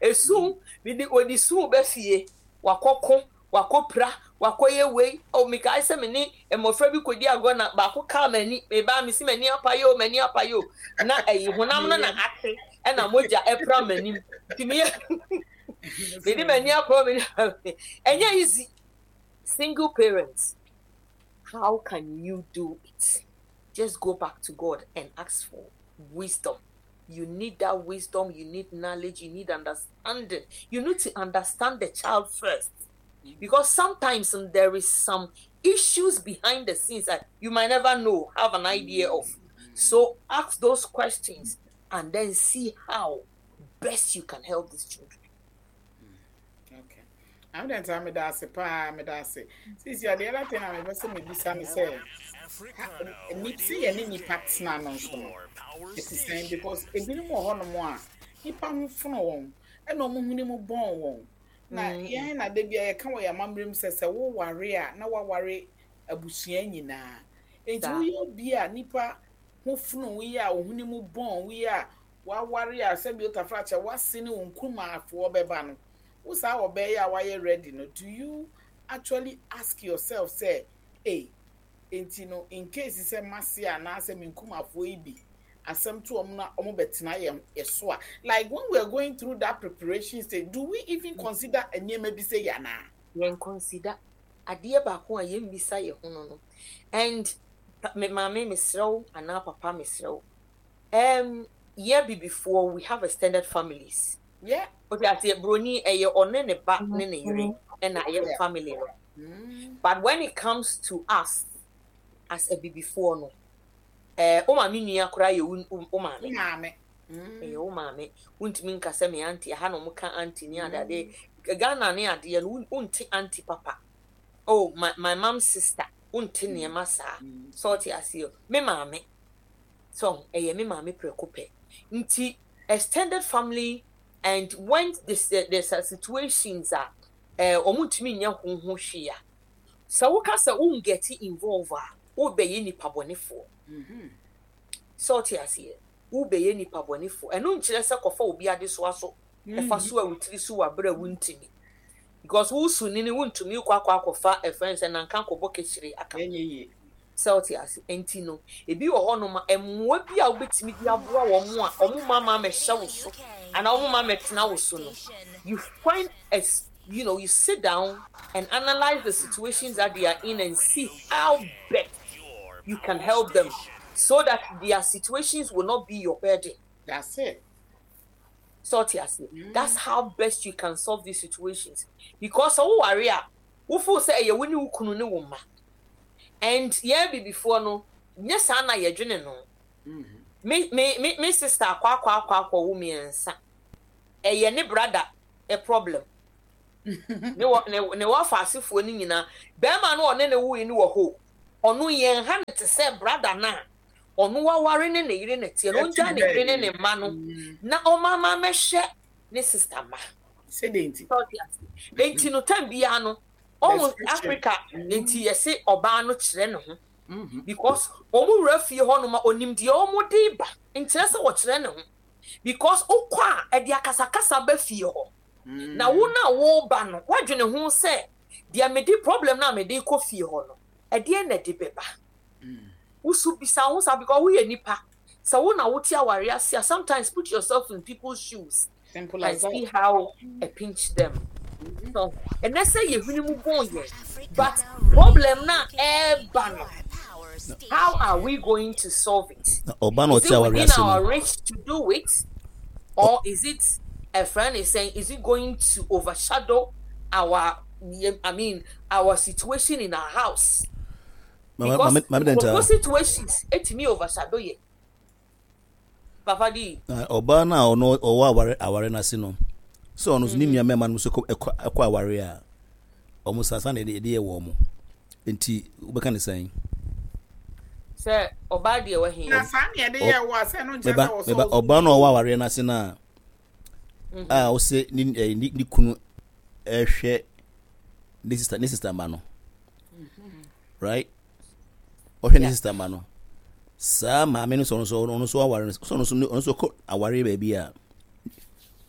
Esu, mede wɔde su ba fie, wakɔko, Wakɔpira, wakɔyɛ wei. Oh, mekae sɛ me ne mmɔfra bi kɔdi agorɔ na baako kaa m'ani. Mebaa mesi m'ani apae o, m'ani apae o. Na ɛyi honam no na ate ɛna mogya ɛpra m'anim. Nti meyɛ mede m'ani akɔ m'ani. Ɛnyɛ easy. Single parents, how can you do it? Just go back to God and ask for wisdom. You need that wisdom, you need knowledge, you need understanding. You need to understand the child first. Because sometimes there is some issues behind the scenes that you might never know, have an idea of. So ask those questions and then see how best you can help these children. Okay. I'm then time meda ase paa meda ase. Sisi the other thing I'm sɛ mebisa ne sɛ ni sɛ yɛne nipa tena no nso no ɛte sɛn because ebinom wɔ hɔnom a nipa ho fono wɔn ɛna wɔn hwene mu bɔn wɔn na mm. yɛn na da bi a yɛka wɔ yɛn amammerɛ mu sɛ sɛ woware a na waware abusua nyinaa nti woyɛ obi a nipa ho fono wo yi a wo hwene mu bɔn wo yi a waware a sɛbi otafra kyɛ wase ne wo nkumaafoɔ bɛba no wo saa ɔbaa yi a wayɛ ready no do you actually ask yourself sɛ ei enti no in case sɛ mase anaasɛ me nkumafoɔ yi bi asɛm to wɔn na wɔn bɛtena yɛn so a like when we are going through that preparation stage do we even consider nneɛma bi sɛ yɛ anaa? Yɛn consider adeɛ baako a yɛn bisa yɛ ho no no and me maame mesrɛ wo anaa papa mesrɛ wo um, yɛ bibifoɔ we have extended families. Yeah. Wote aseɛ broni ɛyɛ ɔne ne ba ne ne yere ɛna ɛyɛ family no. But when it comes to us as abibifoɔ no, ɛɛ wo maame nua koraa yɛ wo wo maame. Maame. Ɛyɛ wo maame. Wontumi nka sɛ me auntie ɛha na wɔn ka auntie ne ade ade. Ghana ne adeɛ no wonte auntie papa. Oh my my mom sister wonte nneɛma saa. Sɛ ɔte aseɛ me maame. So ɛyɛ me maame prɛko pɛ. Nti extended family and when this, uh, there's a situations a eh, wɔn ntumi nyɛ ho ho hwee a, sɛ woka sɛ wo get involve a, wobɛyɛ nipa bɔnefoɔ. Mm-hmm. Sɛ ɔte aseɛ, wobɛyɛ nipa bɔnefoɔ. Ɛno nkyerɛ sɛ kɔfa obi adesoa so, ɛfa mm-hmm. so a wotiri so wɔ abere a wontumi. Because wo su nini wontumi kɔ akɔ akɔfa ɛfɛn sɛ nanka kɔbɔ kehyire aka. Sɛ wote ase? Enti no, ebi wɔ hɔnom a, mmoa bi a wobɛtumi de aboa wɔn a wɔn mma mma mmɛhyɛ wo so anaa wɔn mma mmɛtena wo so no, you find a, you know, you sit down and analyze the situations that they are in and see how best you can help them so that their situations will not be your burden. That's it. Sɛ ɔte ase? That's how best you can solve these situations. Because sɛ woware a, wo feel sɛ ɛyɛ wo ne wo kunu ne wo mma. And yɛn abibifoɔ no, nyɛ saa na yɛdwene no. Me me me me sister akɔ akɔ akɔ akɔ wo mmiɛnsa. Ɛyɛ ne brother a problem. Ne wɔ ne ne wɔfa asefoɔ no nyinaa. Bɛrima no ɔne ne woe no wɔ hɔ. Ɔno yɛn ha no te sɛ brother no a ɔno waware ne ne yere na teɛ no. Ɔngya ne yere ne ne mma no na ɔmama mɛhwɛ ne sister mma. Sɛdeɛ nti. Nti no time biara no ɔmo Africa nti yɛse ɔbaa no kyerɛ ne ho because ɔmo wura fie hɔ nom a onim deɛ ɔmo de ba nkyerɛ sɛ ɔkyerɛ ne ho because wokɔ a ɛde akasakasa ba fie hɔ na wo no a woba no woadwene ho sɛ deɛ mede problem no a mede kɔ fie hɔ no ɛdeɛn na ɛde bɛba. Wo so bisa wo ho saa because woyɛ nipa sɛ wo na wote aware ase a sometimes put yourself in people's shoes Simple and as that. see how it pinch them. So ɛnɛ sɛ yɛhwene mu bɔn yɛn but problem na ɛɛba no how are we going to solve it? Na ɔba na Is ɔte it aware within ase no our reach to do it or is it a friend is saying is it going to overshadow our I mean our situation in our house? Mama Because mama dɛn nkurɔfoɔ taa situations etumi overshadow yɛ. Papa di. Na ɔbaa no a ɔno ɔwɔ aware aware no ase no sɛ ɔno nso ne nua mmarima no nso kɔ ɛkɔ ɛkɔ aware a wɔn sasa na ɛde ɛde yɛ wɔn nti wobɛka ne sɛn. Sɛ ɔbaa deɛ wahi. Na saa na yɛde yɛ wɔ a sɛ no nkyerɛ Meba sɛ wɔsɔ meba wo so. ɔbaa no a ɔwɔ awareɛ no ase no a a ɔsɛ ne ɛɛ ne ne kunu ɛrehwɛ ne sista ne sista ma no right ɔhwɛ ne sista ma no saa maame no sɛ ɔno nso ɔno nso aware no sɛ ɔno nso ɔno nso kɔ awareɛ baabi a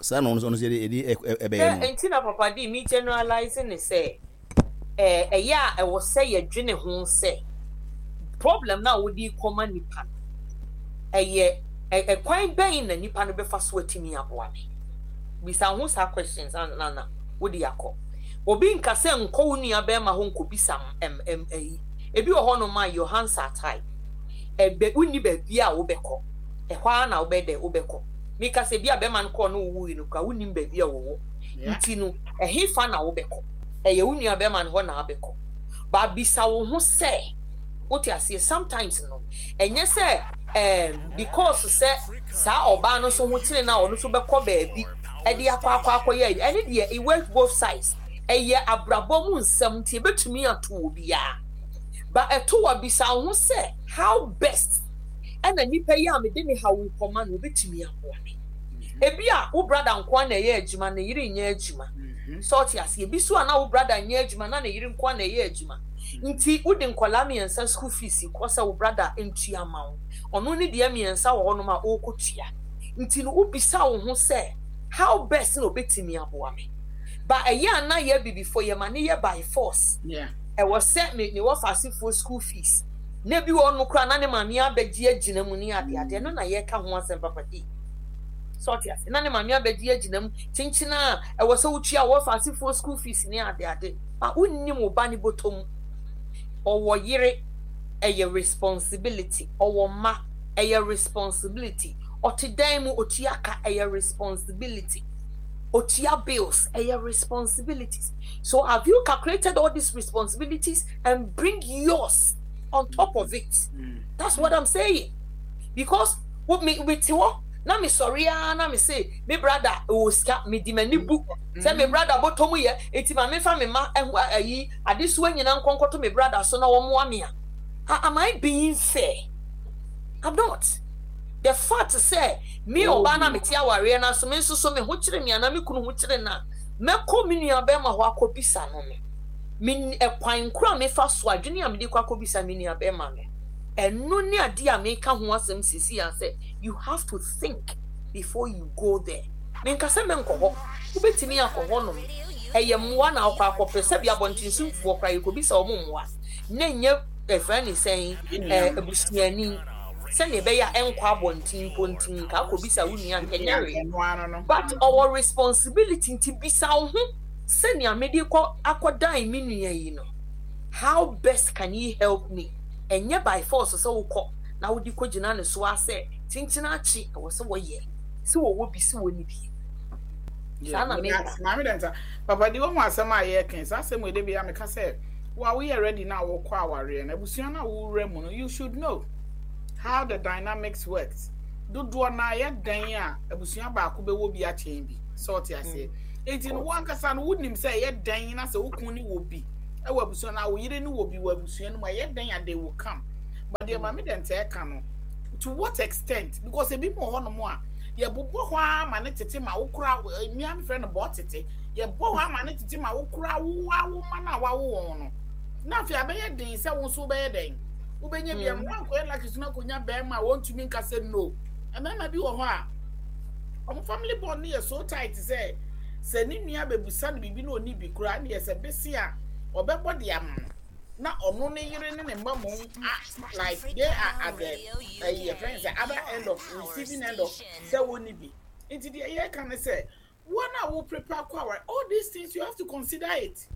saa na ɔno nso ɔno nso yɛde yɛde ɛbɛyɛ no. Nti na papa di mi generalize ne sɛ ɛɛ ɛyɛ a ɛwɔ sɛ yɛdwene ho sɛ problem na wode kɔma nipa no ɛyɛ ɛkwan bɛn na nipa no bɛfa so atumi aboa me. Bisa ho saa questions na na wode akɔ. Obi nka sɛ nkɔ wo nua bɛrima hɔ nkɔbisa ɛm ɛm ɛyi. Ebi wɔ hɔnom a your hands are tied. Ɛbɛ wonni baabi a wobɛkɔ. Ɛhɔ ara na wobɛ dɛ wobɛkɔ. Meka sɛ bi a bɛrima no kɔɔ no wowui no koraa wonnim baabi a wɔwɔ. Nti no ɛhefa na wobɛkɔ? Ɛyɛ wo nua bɛrima no hɔ na wabɛkɔ. Ba bisa wo ho sɛ wote aseɛ sometimes no ɛnyɛ sɛ ɛɛm because sɛ saa ɔbaa no nso ho kyere no a ɔno nso bɛkɔ baabi ɛde akɔ akɔ akɔyɛ ɛne deɛ it works both sides. Ɛyɛ abrabɔ mu nsɛm nti ebetumi ato obiara. Ba ɛto a bisa wo ho sɛ how best ɛna nipa yi a mede me haw rekɔma no obetumi aboa me. Ebi a wo brother nko na ɛyɛ adwuma ne yere nyɛ adwuma. Sɛ ɔte ase ebi so a na wo brother nyɛ adwuma na ne yere nko na ɛyɛ adwuma. Nti wode nkɔlaa mmiɛnsa school fees kɔ sɛ wo brother ntua ma wo. Ɔno ne deɛ mmiɛnsa wɔ hɔnom a ɔrekɔtua. Nti no wobisa wo ho sɛ how best na obetumi aboa me. Ba ɛyɛ a na yɛ abibifo yɛ ma ne yɛ by force. Ɛwɔ sɛ me me wɔ fasefoɔ school fees. Na ebi wɔ hɔnom koraa na ne maame abɛgye agyina mu ne ade ade. Ɛno na yɛka ho asɛm papa di. Sɛ ɔte ase na ne maame abɛgye agyina mu kyenkyen a ɛwɔ sɛ wotua wɔ fasefoɔ school fees ne ade ade. Ba wonnim wo ba ne bɔtɔ mu. Ɔwɔ yere ɛyɛ responsibility. Ɔwɔ mma ɛyɛ responsibility. Ɔte dan mu otua ka ɛyɛ responsibility. Otua bills ɛyɛ responsibilities. So have you calculated all these responsibilities and bring yours on top of it? That's what I'm saying. Because wo me me te hɔ na me sɔre ara na me se me brother wɔ sika me di m'ani bu sɛ me brother bɔtɔ mu yɛ eti ma me fa me ma ɛho ayi adesoa nyinaa nkɔnkɔto me brother so na wɔn me a. Am I being fair? I'm not. The fact sɛ me ɔbaa na mete awareɛ no so me nso so me ho kyerɛ me anaa me kunu ho kyerɛ no a mɛkɔ me nua bɛrima hɔ akɔbisa no no me ɛkwan koro a mefa so adwene a mede kɔ akɔbisa me nua bɛrima no ɛno ne adeɛ a meka ho asɛm sisi a sɛ you have to think before you go there. Menka sɛ menkɔ hɔ, wobɛtumi akɔ hɔ nom, ɛyɛ mmoa na wokɔ akɔpɛ sɛbi abɔntensomfoɔ koraa yɛkɔbisa wɔn mmoa na ɛnyɛ ɛfrɛ ne sɛn abusuani sɛnea ɛbɛyɛ a ɛnkɔ abɔnten mpo nti nka akɔbisa wo nua nka ɛnyɛ hwee but ɔwɔ responsibility nti bisa wo ho sɛnea mede kɔ akɔdan me nua yi no how best can he help me ɛnyɛ by force sɛ wokɔ na wode kɔgyina ne so a sɛ kyenkyena akye ɛwɔ sɛ wɔyɛ sɛ wɔwɔ bi sɛ wɔnni bi saa na meka. Maame dɛnta papa di wɔn asɛm a yɛka saa asɛm wɔ de bi a meka sɛ wo a woyɛ ready na wokɔ awareɛ no abusua na wowura mu no you should know how the dynamics works. Dodoɔ no ara yɛ dɛn a abusua baako bɛwɔ bi akyɛn bi. Sɛ ɔte aseɛ. Nti no wo ankasa no wonim sɛ ɛyɛ dɛn na sɛ wo kun ne wɔ bi wɔ abusua no a wo yere ne wɔ bi wɔ abusua no mu a ɛyɛ dɛn a they will come. But deɛ Maame Dɛntɛ ɛka no to what extent because ebi mu wɔ hɔnom a yɛbobɔ hɔ ara ma ne tete ma wo kora mmea mefrɛ no bɔ tete yɛbɔ hɔ ara ma ne tete ma wo kora wo a wo ma no a wawo wɔn no na afei abɛyɛ den sɛ wo nso wobɛyɛ dɛn wobɛnya bi ama woankɔyɛ lucky so no akɔnya bɛrima a wɔntumi nka sɛ no. Mmarima bi wɔ hɔ a wɔn family bond no yɛ so tight sɛ sɛ ne nua bɛbusa no biribi na ɔnni bi koraa ne yɛ sɛ bese a ɔbɛbɔ de ama no na ɔno ne yere ne ne mma mmom a like they are at the ɛyi yɛfrɛ no sɛ other end of receiving end of sɛ wɔnni bi. Nti deɛ yɛreka ne sɛ wɔn a wo prepare kɔ aware all these things you have to consider it.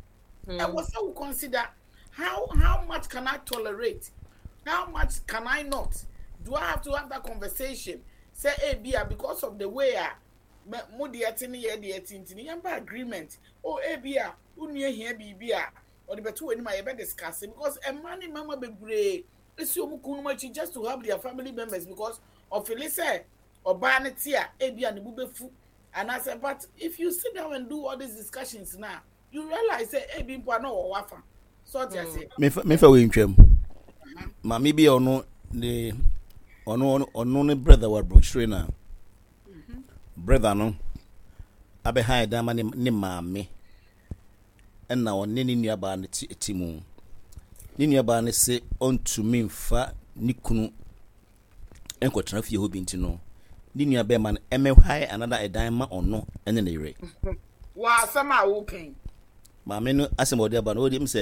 Ɛwɔ sɛ wo consider How how much can I tolerate? How much can I not? Do I have to have that conversation? Say, hey, bia, because of the way a mo deɛ te ne yɛ deɛ te nti ne yɛn ba agreement. Oh, hey, bia, wo nua hia biribi a ɔde bɛto w'anim a yɛbɛ discuss because mmaa ne mmarima bebree esi wɔn kununom akyi just to help their family members because ɔfili sɛ ɔbaa ne te a ebi a ne bo bɛfu anaasɛ but if you sit down and do all these discussions now you realize sɛ ebi mpo a na ɔwɔ w'afa so ɔte aseɛ. Mefa mefa wei ntwam. Maame bi a ɔno ne ɔno ɔno ne brother wɔ aburokyire na mhm. brother no abɛhan dan ma ne ne maame ɛna ɔne ne nuabaa no te te mu. Ne nuabaa no se ɔntumi nfa ne kunu nkɔtena fie hɔ bi nti no, ne nua bɛrima no mmɛhae another ɛdan ma ɔno ne ne yere. Wɔ asɛm a woka yi. Maame no asɛm a ɔde aba no, ɔde m sɛ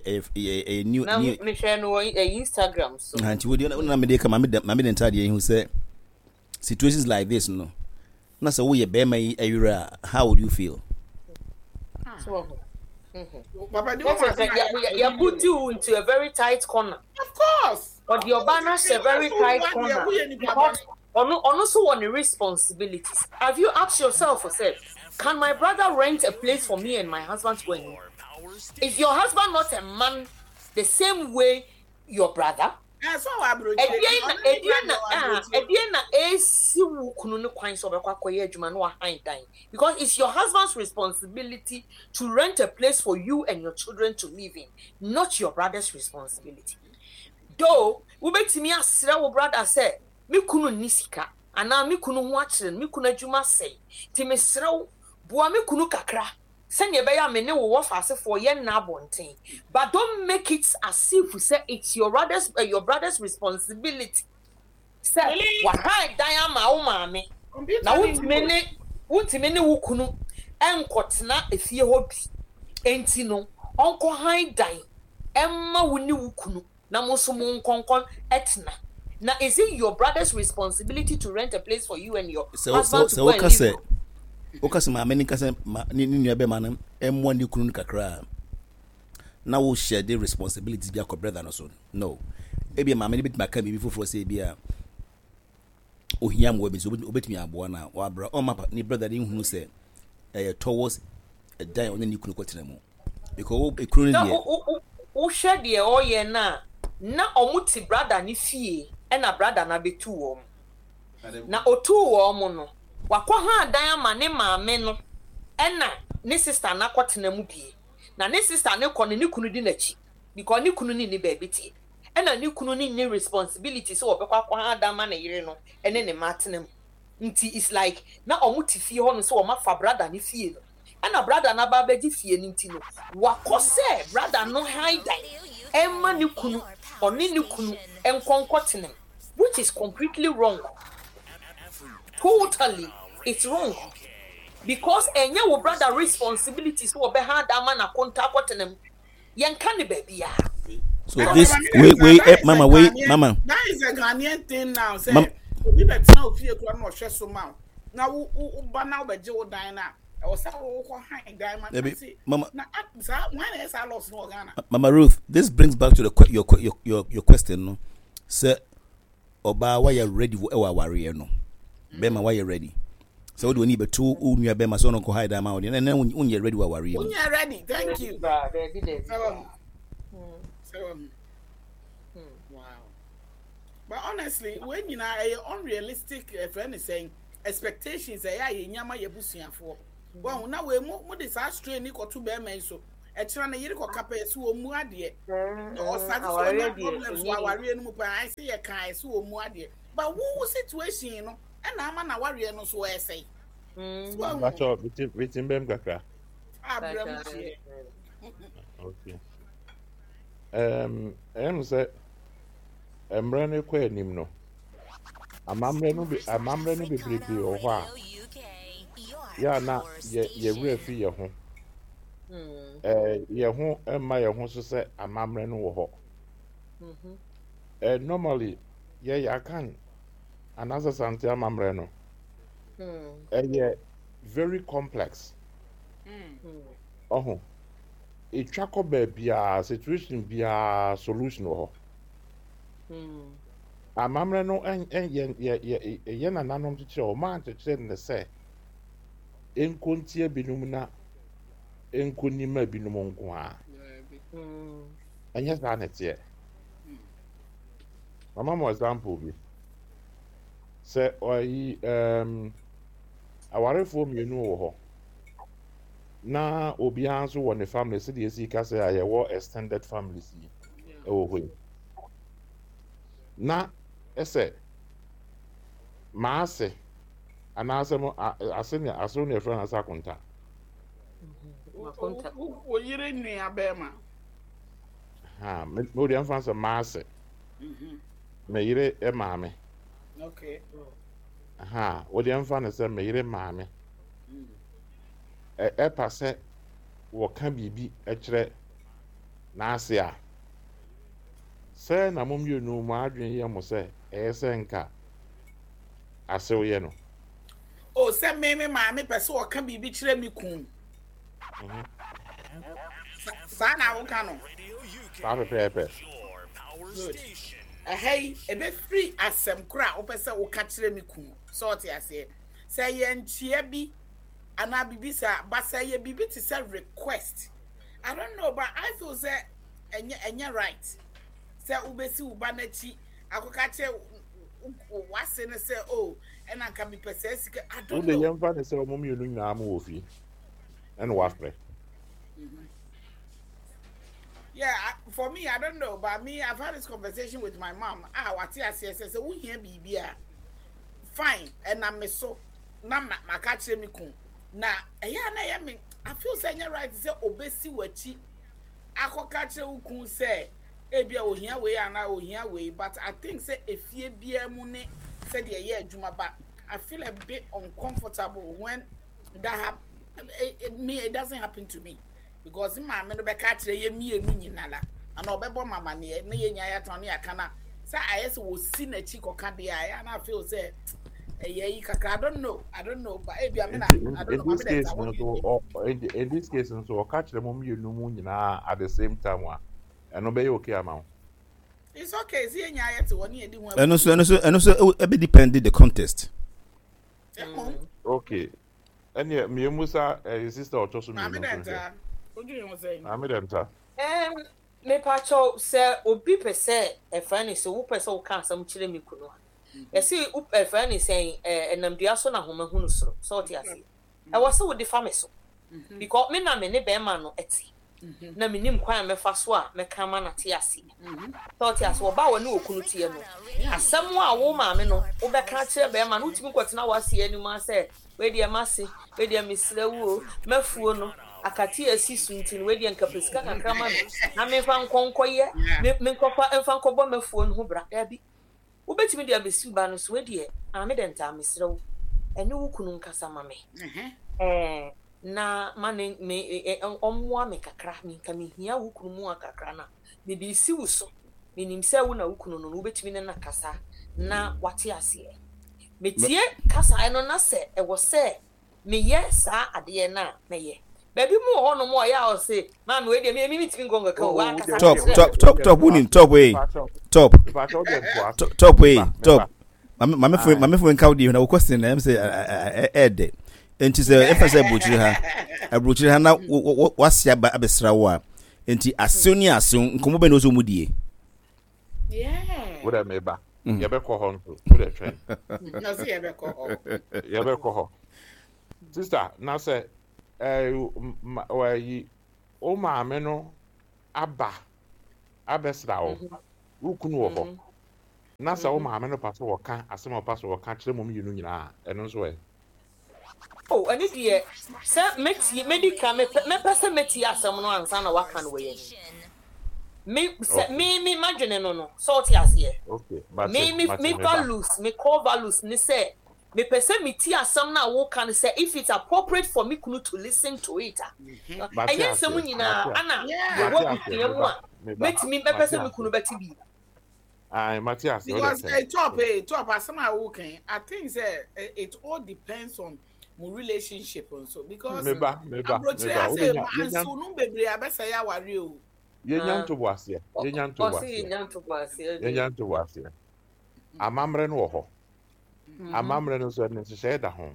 ɛyɛ new. Na mehwɛ no wɔ Instagram so. Nti wodi na mede ka maame maame de ntaadeɛ yi ho sɛ situations like this no na sɛ woyɛ bɛrima yi ayere a how would you feel? Papa, do you want to You put you into a very tight corner. Of course. Ɔde ɔbaa no ahyɛ very tight corner because ɔno ɔno nso wɔ ne responsibilities. Have you asked yourself sɛ can my brother rent a place for me and my husband to go and live? Is your husband not a man the same way your brother? Ɛdeɛn na ɛdeɛn na ah ɛdeɛn na ɛresi wo kunu no kwan sɛ ɔbɛkɔ akɔyɛ adwuma na wahan dan? Because it's your husband's responsibility to rent a place for you and your children to live in, not your brother's responsibility. Though wobɛtumi asrɛ wo brother sɛ me kunu nni sika anaa me kunu ho akyere no, me kunu adwuma asɛe nti mesrɛ wo boa me kunu kakra sɛnea ɛbɛyɛ a me ne wo wɔfaasefoɔ yɛnna abɔnten but don't make it as if sɛ it's your brother's, uh, your brother's responsibility sɛ wahan dan ama wo maame na wontumi ne wontumi ne wo kunu nkɔtena efie hɔ bi enti no ɔnkɔhan dan ɛmma wo ne wo kunu na mo nso mo nkɔnkɔ tena na is it your brother's responsibility to rent a place for you and your husband to go and live? Sɛ woka sɛ maame no nka sɛ ne nua bɛma no mmoa ne kunu no kakra a na wo share the responsibilities bi akɔ brother no so no ebia maame no bɛtumi aka biribi foforɔ sɛ ebia ohia mmoa bi nso obetumi aboa no a wabra ɔmma ne brother no nhunu sɛ ɛyɛ towards ɛdan a ɔne ne kunu kɔtena mu because ekunu no deɛ. Wohwɛ deɛ ɔyɛ no a na ɔmo te brother no fie ɛna brother no abɛtu wɔn na otuu wɔn no wakɔ haa dan ama ne maame no ɛna ne sister no akɔtena mu bie na ne sister no kɔ no ne kunu di n'akyi because ne kunu no nni baabi te. ɛna ne kunu no nni responsibility sɛ ɔbɛkɔ akɔha adan ma ne yere no ne ne mma atena mu nti it's like na ɔmo te fie hɔ no sɛ ɔmo afa brother no fie no ɛna brother no aba abɛgye fie no nti no wakɔ sɛ brother no han dan ɛma ne kunu ɔne ne kunu nkɔ nkɔ tena mu which is completely wrong totally it's wrong because ɛnyɛ wo brother responsibility sɛ ɔbɛha adan ma n'akonta akɔtena mu. Yɛnka no baabiara. So this wait wait eh, mama wait mama. That is a Ghanaian thing now. Say obi bɛ tena ofie kura na ɔhwɛ so ma na wo wo ba na ɔbɛgye wo dan na ɛwɔ sɛ wo kɔ han dan ma na se mama na saa wɔn na yɛ saa laws no wɔ Ghana. Mama Ruth, this brings back to the your your your your question no. Sɛ ɔbaa wayɛ ready wɔ ɛwɔ awareɛ no bɛrima wayɛ ready sɛ wode w'ani bɛto wo nua bɛrima sɛ ɔno nkɔ hide ama wo deɛ na wonyɛ ready wɔ awareɛ mu wonyɛ ready thank you wow. But honestly, wei nyinaa ɛyɛ unrealistic ɛfrɛ ne sɛn expectations ɛyɛ a yɛnya ma yɛabusuafoɔ. Wahu na wei mo mo de saa strain ni kɔto bɛrima yi so. Ɛkyerɛ ne yere kɔka pɛ so wɔn mu adeɛ. Ɔsate sɛ ɔnya problems wɔ awareɛ no mu paa ayɛ sɛ yɛka ayɛ sɛ wɔn mu adeɛ. But wo wo situation no ɛna ama na awareɛ no so ɛsɛe. So wahu. Bakyɛ bitim bɛm kakra. Abrɛ mu kyeɛ. Okay. Um, ɛyɛ sɛ mmerɛ no rekɔ anim no, amammerɛ no be amammerɛ no bebrebe wɔ hɔ a yɛ a na yɛ yɛ werɛ fi yɛ ho. Mm. Ɛɛ yɛ ho mma yɛ ho so sɛ amammerɛ no wɔ hɔ. Mm-hmm. Ɛɛ normally yɛ yɛ akan anaasɛ sante amammerɛ no Mm. ɛyɛ very complex. Mm. Ɔho etwa kɔ baabiara situation biara solution wɔ hɔ. Mm. Amammerɛ no yɛ yɛ yɛ yɛ nananom kyekyerɛ wɔn ankyekyerɛ no sɛ nko ntia binom na nko nima binom nko ara. Mm. Ɛnyɛ saa na ɛteɛ. Mama mo example bi. Sɛ ɔyi um, awarefoɔ mmienu wɔ hɔ na obiara nso wɔ ne family sɛdeɛ esi ka sɛ a yɛwɔ extended families yi ɛwɔ hɔ yi. Na ɛsɛ maase anaasɛ mo ase ne asew ne ɛfrɛ no ase akonta. Makonta. Wo yere nua bɛrima. Ha, me me deɛ mfa sɛ maase. Mhm. Me yere maame. Okay. Ha, wo deɛ mfa no sɛ me yere maame. Mm. Ɛpa sɛ wɔka biribi kyerɛ n'ase a, sɛ na mo mmienu mo adwene yɛ mo sɛ ɛyɛ sɛ nka asew yɛ no. O sɛ me me maame pɛ sɛ ɔka biribi kyerɛ me kun. Mhm. Saa na woka no. Saa pɛpɛɛpɛ. Good. Ɛha yi, ɛbɛfiri asɛm koro a wopɛ sɛ woka kyerɛ me kun. Sɛ ɔte aseɛ. Sɛ ɛyɛ nkyea bi anaa biribi saa, but sɛ ɛyɛ biribi te sɛ request, I don't know, but I feel sɛ ɛnyɛ ɛnyɛ right sɛ wobɛsi wo ba n'akyi akɔka kyerɛ w'ase no sɛ oh ɛna nka mepɛ saa sika. I don't Wode know. yɛmfa ne sɛ wɔn mmienu nyinaa mo wɔ fie ɛna wafrɛ. Yeah, I, for me, I don't know, but me, I've had this conversation with my mom. Ah, what I say, say, say, we hear baby, fine, and I'm so, na ma ma catch me kun. Na, eh, yeah, na yeah, me, I feel sɛ ɛnyɛ right sɛ obesi w'akyi akɔka kyerɛ wo kun sɛ ebi a ohia wei anaa ohia wei, but I think sɛ efie biara mu ne sɛdeɛ ɛyɛ adwuma ba. I feel a bit uncomfortable when that happen. It, it, me, it doesn't happen to me. Because maame no bɛka akyerɛ yɛ mmienu nyinara ana ɔbɛbɔ mama neɛ na yɛ nyinaa yɛatena ne yɛaka na sɛ ayɛ sɛ wɔsi n'akyi kɔka deɛ a ɛyɛ na afei sɛ ɛyɛ yi kakra. I don't know, I don't know, but ebi amena Nti I in, don't know in maame this dɛ case nta no what do so you think? ɔ in, in this case no so ɔka kyerɛ mo mmienu mu nyinaa at the same time a ɛno bɛyɛ okay ama wo. It's okay sɛ yɛ nyinaa yɛte hɔ ne yɛdi ho ɛno nso ɛno nso ɛno nso ɛbɛ depend the context. Ɛmmom Okay. Ɛneɛ mmienu sa ɛyɛ sister ɔtɔ so maame mmienu dɛ nso nhwɛ. nta wodwene ho sɛn? Maame dɛ nta. Um, mepakyɛw sɛ obi pɛ sɛ ɛfrɛ ne sɛ wopɛ sɛ woka asɛm kyerɛ me kunu a yɛse ɛfrɛ ne sɛn ɛnam dua so na homa hunu soro sɛ ɔte aseɛ ɛwɔ sɛ wode fa me so because me na me ne bɛrima no ɛte na menim kwan a mɛfa so a mɛka ama no ate aseɛ sɛ ɔte aseɛ ɔbaa wɔ ne okunu teɛ no asɛm a wo maame no wobɛka akyerɛ bɛrima no wotumi kɔtena w'aseɛ anim a sɛ wei deɛ m'ase wei deɛ mesrɛ wo o m'afuo no akate a asi so nti no wei deɛ nka pɛ sika kakra ma me na memfa nkɔ nkɔyɛ me menkɔfa mfa nkɔbɔ m'afuo no ho bra daabi wobɛtumi de abɛsi wo ba no so wei deɛ maame dɛ ntaa mesrɛ wo ɛne wo kunu nkasa ma me ɛɛ na ma ne me ɔmmoa me kakra me nka mehia wo kunu mu a kakra na mede si wo so menim sɛ wo na wo kunu no no wobɛtumi ne no akasa na wate aseɛ metie kasaeɛ no na sɛ ɛwɔ sɛ meyɛ saa adeɛ no a mɛyɛ baabi mu wɔ hɔnom a ɔyɛ a ɔse maame wei deɛ me me mentumi nkɔ nkɔka o wankasa top kyerɛ top top top wonim top wei top Mepakyɛ wode ntoa so. top wei Meba, top meba. maame maame fo Aye. maame fo nka wo deɛ na wo question na ɛm sɛ ɛɛdɛ nti sɛ ɛfa sɛ aburokyire ha aburokyire ha na wo wo wase aba abɛsra wo a nti asew ne asew nkɔmɔ bɛn na ɔsɛ ɔmu die Yeah. Wo dɛ meba. Yɛbɛkɔ hɔ nso. Wo deɛ twɛn. Ɔse yɛbɛkɔ hɔ. Yɛbɛkɔ hɔ. Sister, na sɛ ɛɛ ma wɔayi wo maame no aba abɛsra wo, wo kunu wɔ hɔ, na sɛ wo maame no pa sɛ ɔka asɛm a ɔpa sɛ ɔka kyerɛ mo mmienu nyinaa a, ɛno nso ɛ? Oh, ɛno deɛ, sɛ mɛtie, mɛdi kan, mepɛ, mɛpɛ sɛ mɛtie asɛm no ansa na waka no wɔ yɛn anim. Me, sɛ, me, me, m'adwene no no, sɛ ɔte aseɛ. Okay, mate, Me, me, mate, me meba. values, me core values ne sɛ, mepɛ sɛ metie asɛm no a woka no sɛ if it's appropriate for me kunu to listen to it a. Mate Ɛnyɛ nsɛm aseɛ, nyinaa mate, ana Yeah. yɛwɔ mate aseɛ, abusua mu meba, a meba, mɛtumi, mɛpɛ mate sɛ me aseɛ. kunu bɛte bi. Ae, mate aseɛ, wode Because twɛn. top, top, asɛm a woka yi, I think sɛ it all depends on mo relationship nso. Because Meba, meba, aburokyire meba. ha Wode sɛ nya, ma yɛnya, nso no bebree abɛsɛe aware o. yɛnya Ah. ntoboaseɛ, yɛnya Ɔse ntoboaseɛ, yɛnya ntoboaseɛ deɛ. yɛnya ntoboaseɛ. Amammerɛ no wɔ hɔ. Amammerɛ no nso, ɛno nhyehyɛeɛ da ho.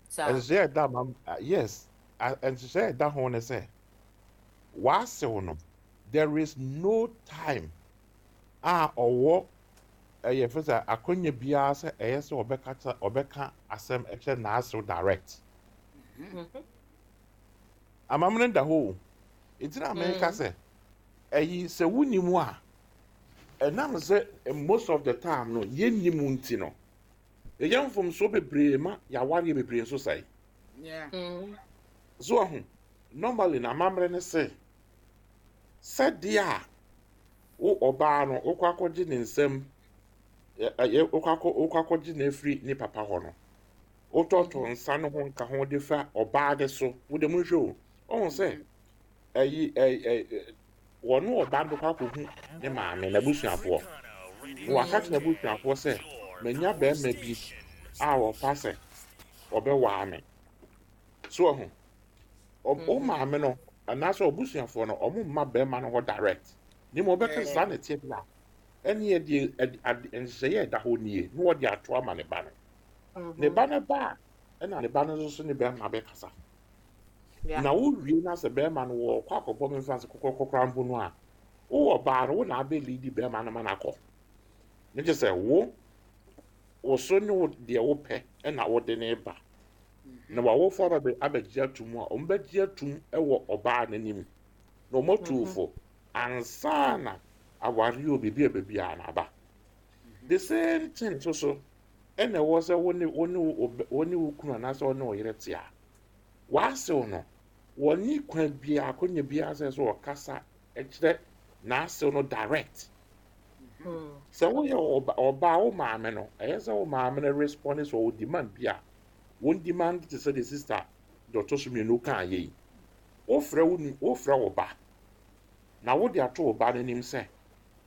Saa. Nhyehyɛeɛ a ɛda amam, ah, yes, ah, nhyehyɛeɛ a ɛda ho ne sɛ, w'asew no, there is no time a ɔwɔ ɛyɛ fɛ sɛ akɔnya biara sɛ ɛyɛ sɛ ɔbɛka kyerɛ ɔbɛka asɛm ɛkyerɛ n'asew direct. Amammerɛ da hɔ o. Nti na meka sɛ ɛyi sɛ wonni mu a ɛnam sɛ most of the time no yɛnni mu nti no yɛyɛ mfomsoɔ bebree ma yɛawareɛ bebree nso sɛe. Yeah. So ahu normally na amammerɛ ne sɛ sɛdeɛ a wo ɔbaa no wokɔ akɔgye ne nsam wokɔ akɔ wokɔ akɔgye no afiri ne papa hɔ no wotɔtɔ nsa no ho nka ho de fa ɔbaa de so wode mu nhwɛ o ɔhu sɛ ɛyi ɛyi ɛ wɔne ɔbaa no bɛkɔ akɔhu ne maame n'abusuafoɔ na waka kyerɛ n'abusuafoɔ sɛ manya bɛrima bi a wɔpa sɛ ɔbɛwaa me so ɔho wo maame no anaasɛ ɔbusuafoɔ no ɔmo mma bɛrima no hɔ direct ne ma ɔbɛka saa na ɛteɛ bi a ɛne yɛde nhyehyɛeɛ a ɛda hɔ nie na wɔde ato ama ne ba no ne ba no ba a ɛna ne ba no nso so ne bɛrima bɛkasa na wowie na sɛ bɛrima no wɔkɔ akɔbɔ me mfa sɛ kɔkɔkɔkora mpo no a wowɔ baa no wo na abɛlidi bɛrima no ma no akɔ ne kyɛ sɛ wo wo so ne wo deɛ wopɛ ɛna wode ne ba na wawofo aba abɛgye atum a wɔn bɛgye atum wɔ ɔbaa n'anim na wɔn atu fo ansa na aware o biribi a baabi a na aba the same thing nso so ɛna ɛwɔ sɛ wo ne wo ne wo ne wo kunu anaasɛ wo ne wo yere te a w'asew no wɔne kwan biara akonnwa biara sɛ sɛ ɔkasa kyerɛ n'asew no direct sɛ woyɛ ɔbaa wo maame no ɛyɛ sɛ wo maame no respond sɛ ɔwɔ demand bi a wɔn demand te sɛ de sister deɛ ɔtɔ so mmienu kaa yɛ yi wofrɛ wo nu wofrɛ wo ba na wode ato wo ba n'anim sɛ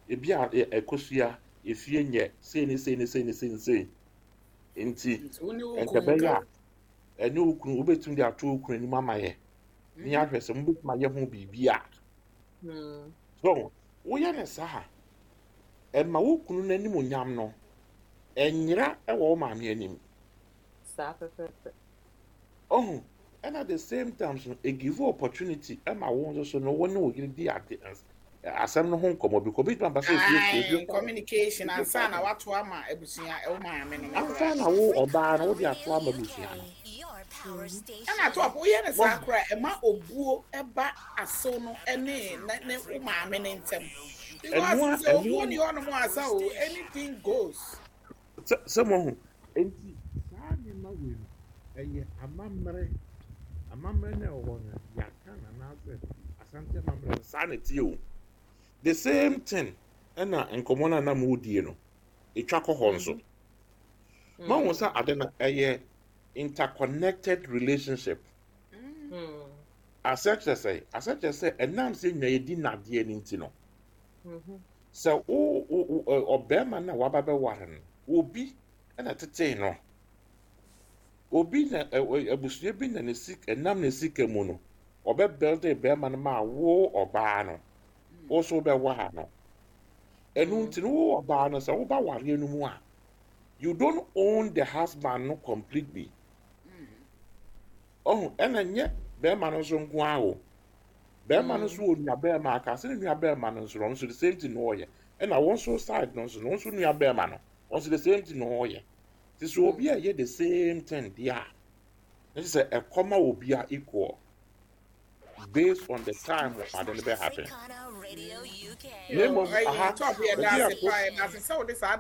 ebi a ɛkosua efie nyɛ sei ne sei ne sei ne sei ne sei nti Nti wo ne wo nka kunu ɛbɛyɛ nka. a ɛne wo kunu wobɛtumi de ato wo kunu anim ama yɛ ne yɛahwɛ sɛ mobɛtumi ayɛ ho biribi a so woyɛ ne saa a ɛma wo kunu n'anim nyam no ɛnyera ɛwɔ wo maame anim Saa pɛpɛɛpɛ. ɔho ɛna the same time so it give you opportunity ɛma wo nso so no wo ne wo yere di ade asɛm no ho nkɔmmɔ bi kɔ bi tuma ba sɛ efie efie Aye, communication ansa na wato ama abusua ɛwo maame no ansa koraa. na wo ɔbaa no wode ato ama abusua no Ɛna to woyɛ ne saa koraa ɛma obuo ɛba asew no ɛne ne ne wo maame ne ntɛm. Because ɛnoa sɛ obuo ɛnoa ni hɔnom asa o, anything goes. sɛ sɛ mo ho nti saa nneɛma wei no ɛyɛ amammerɛ amammerɛ no a ɛwɔ hɔ no yɛaka no anaasɛ asante amammerɛ no saa na ɛteɛ o the same thing ɛna nkɔmmɔ no a na mo die no ɛtwa kɔ hɔ nso mahu sɛ ade no ɛyɛ interconnected relationship asɛ kyerɛ sɛ asɛ kyerɛ sɛ ɛnam sɛ nyina yɛdi nadeɛ no nti no sɛ wo wo wo ɔbarima no a waba bɛware no obi ɛna tetee no obi na abusua bi na ne sika ɛnam ne sika mu no ɔbɛbɛlde bɛrima no ma wo ɔbaa no wo so wobɛware no ɛno nti no wo ɔbaa no sɛ woba wareɛ no mu a you don't own the husband no completely ɔho ɛna nyɛ bɛrima no nso nko ara o bɛrima no nso wɔ nua bɛrima aka sɛ ne nua bɛrima no nso no ɔno nso the same thing na ɔyɛ. Ɛna wɔn nso side no nso no, wɔn nso nua bɛrima no, wɔn nso the same thing na wɔyɛ. Nti sɛ obi a ɛyɛ the same thing deɛ a, ne sɛ ɛkɔma obi a equal based on the time ade no bɛ happen. Na mmom aha, Top, yɛda baabi a ase paa, yɛda ase sɛ wode saa.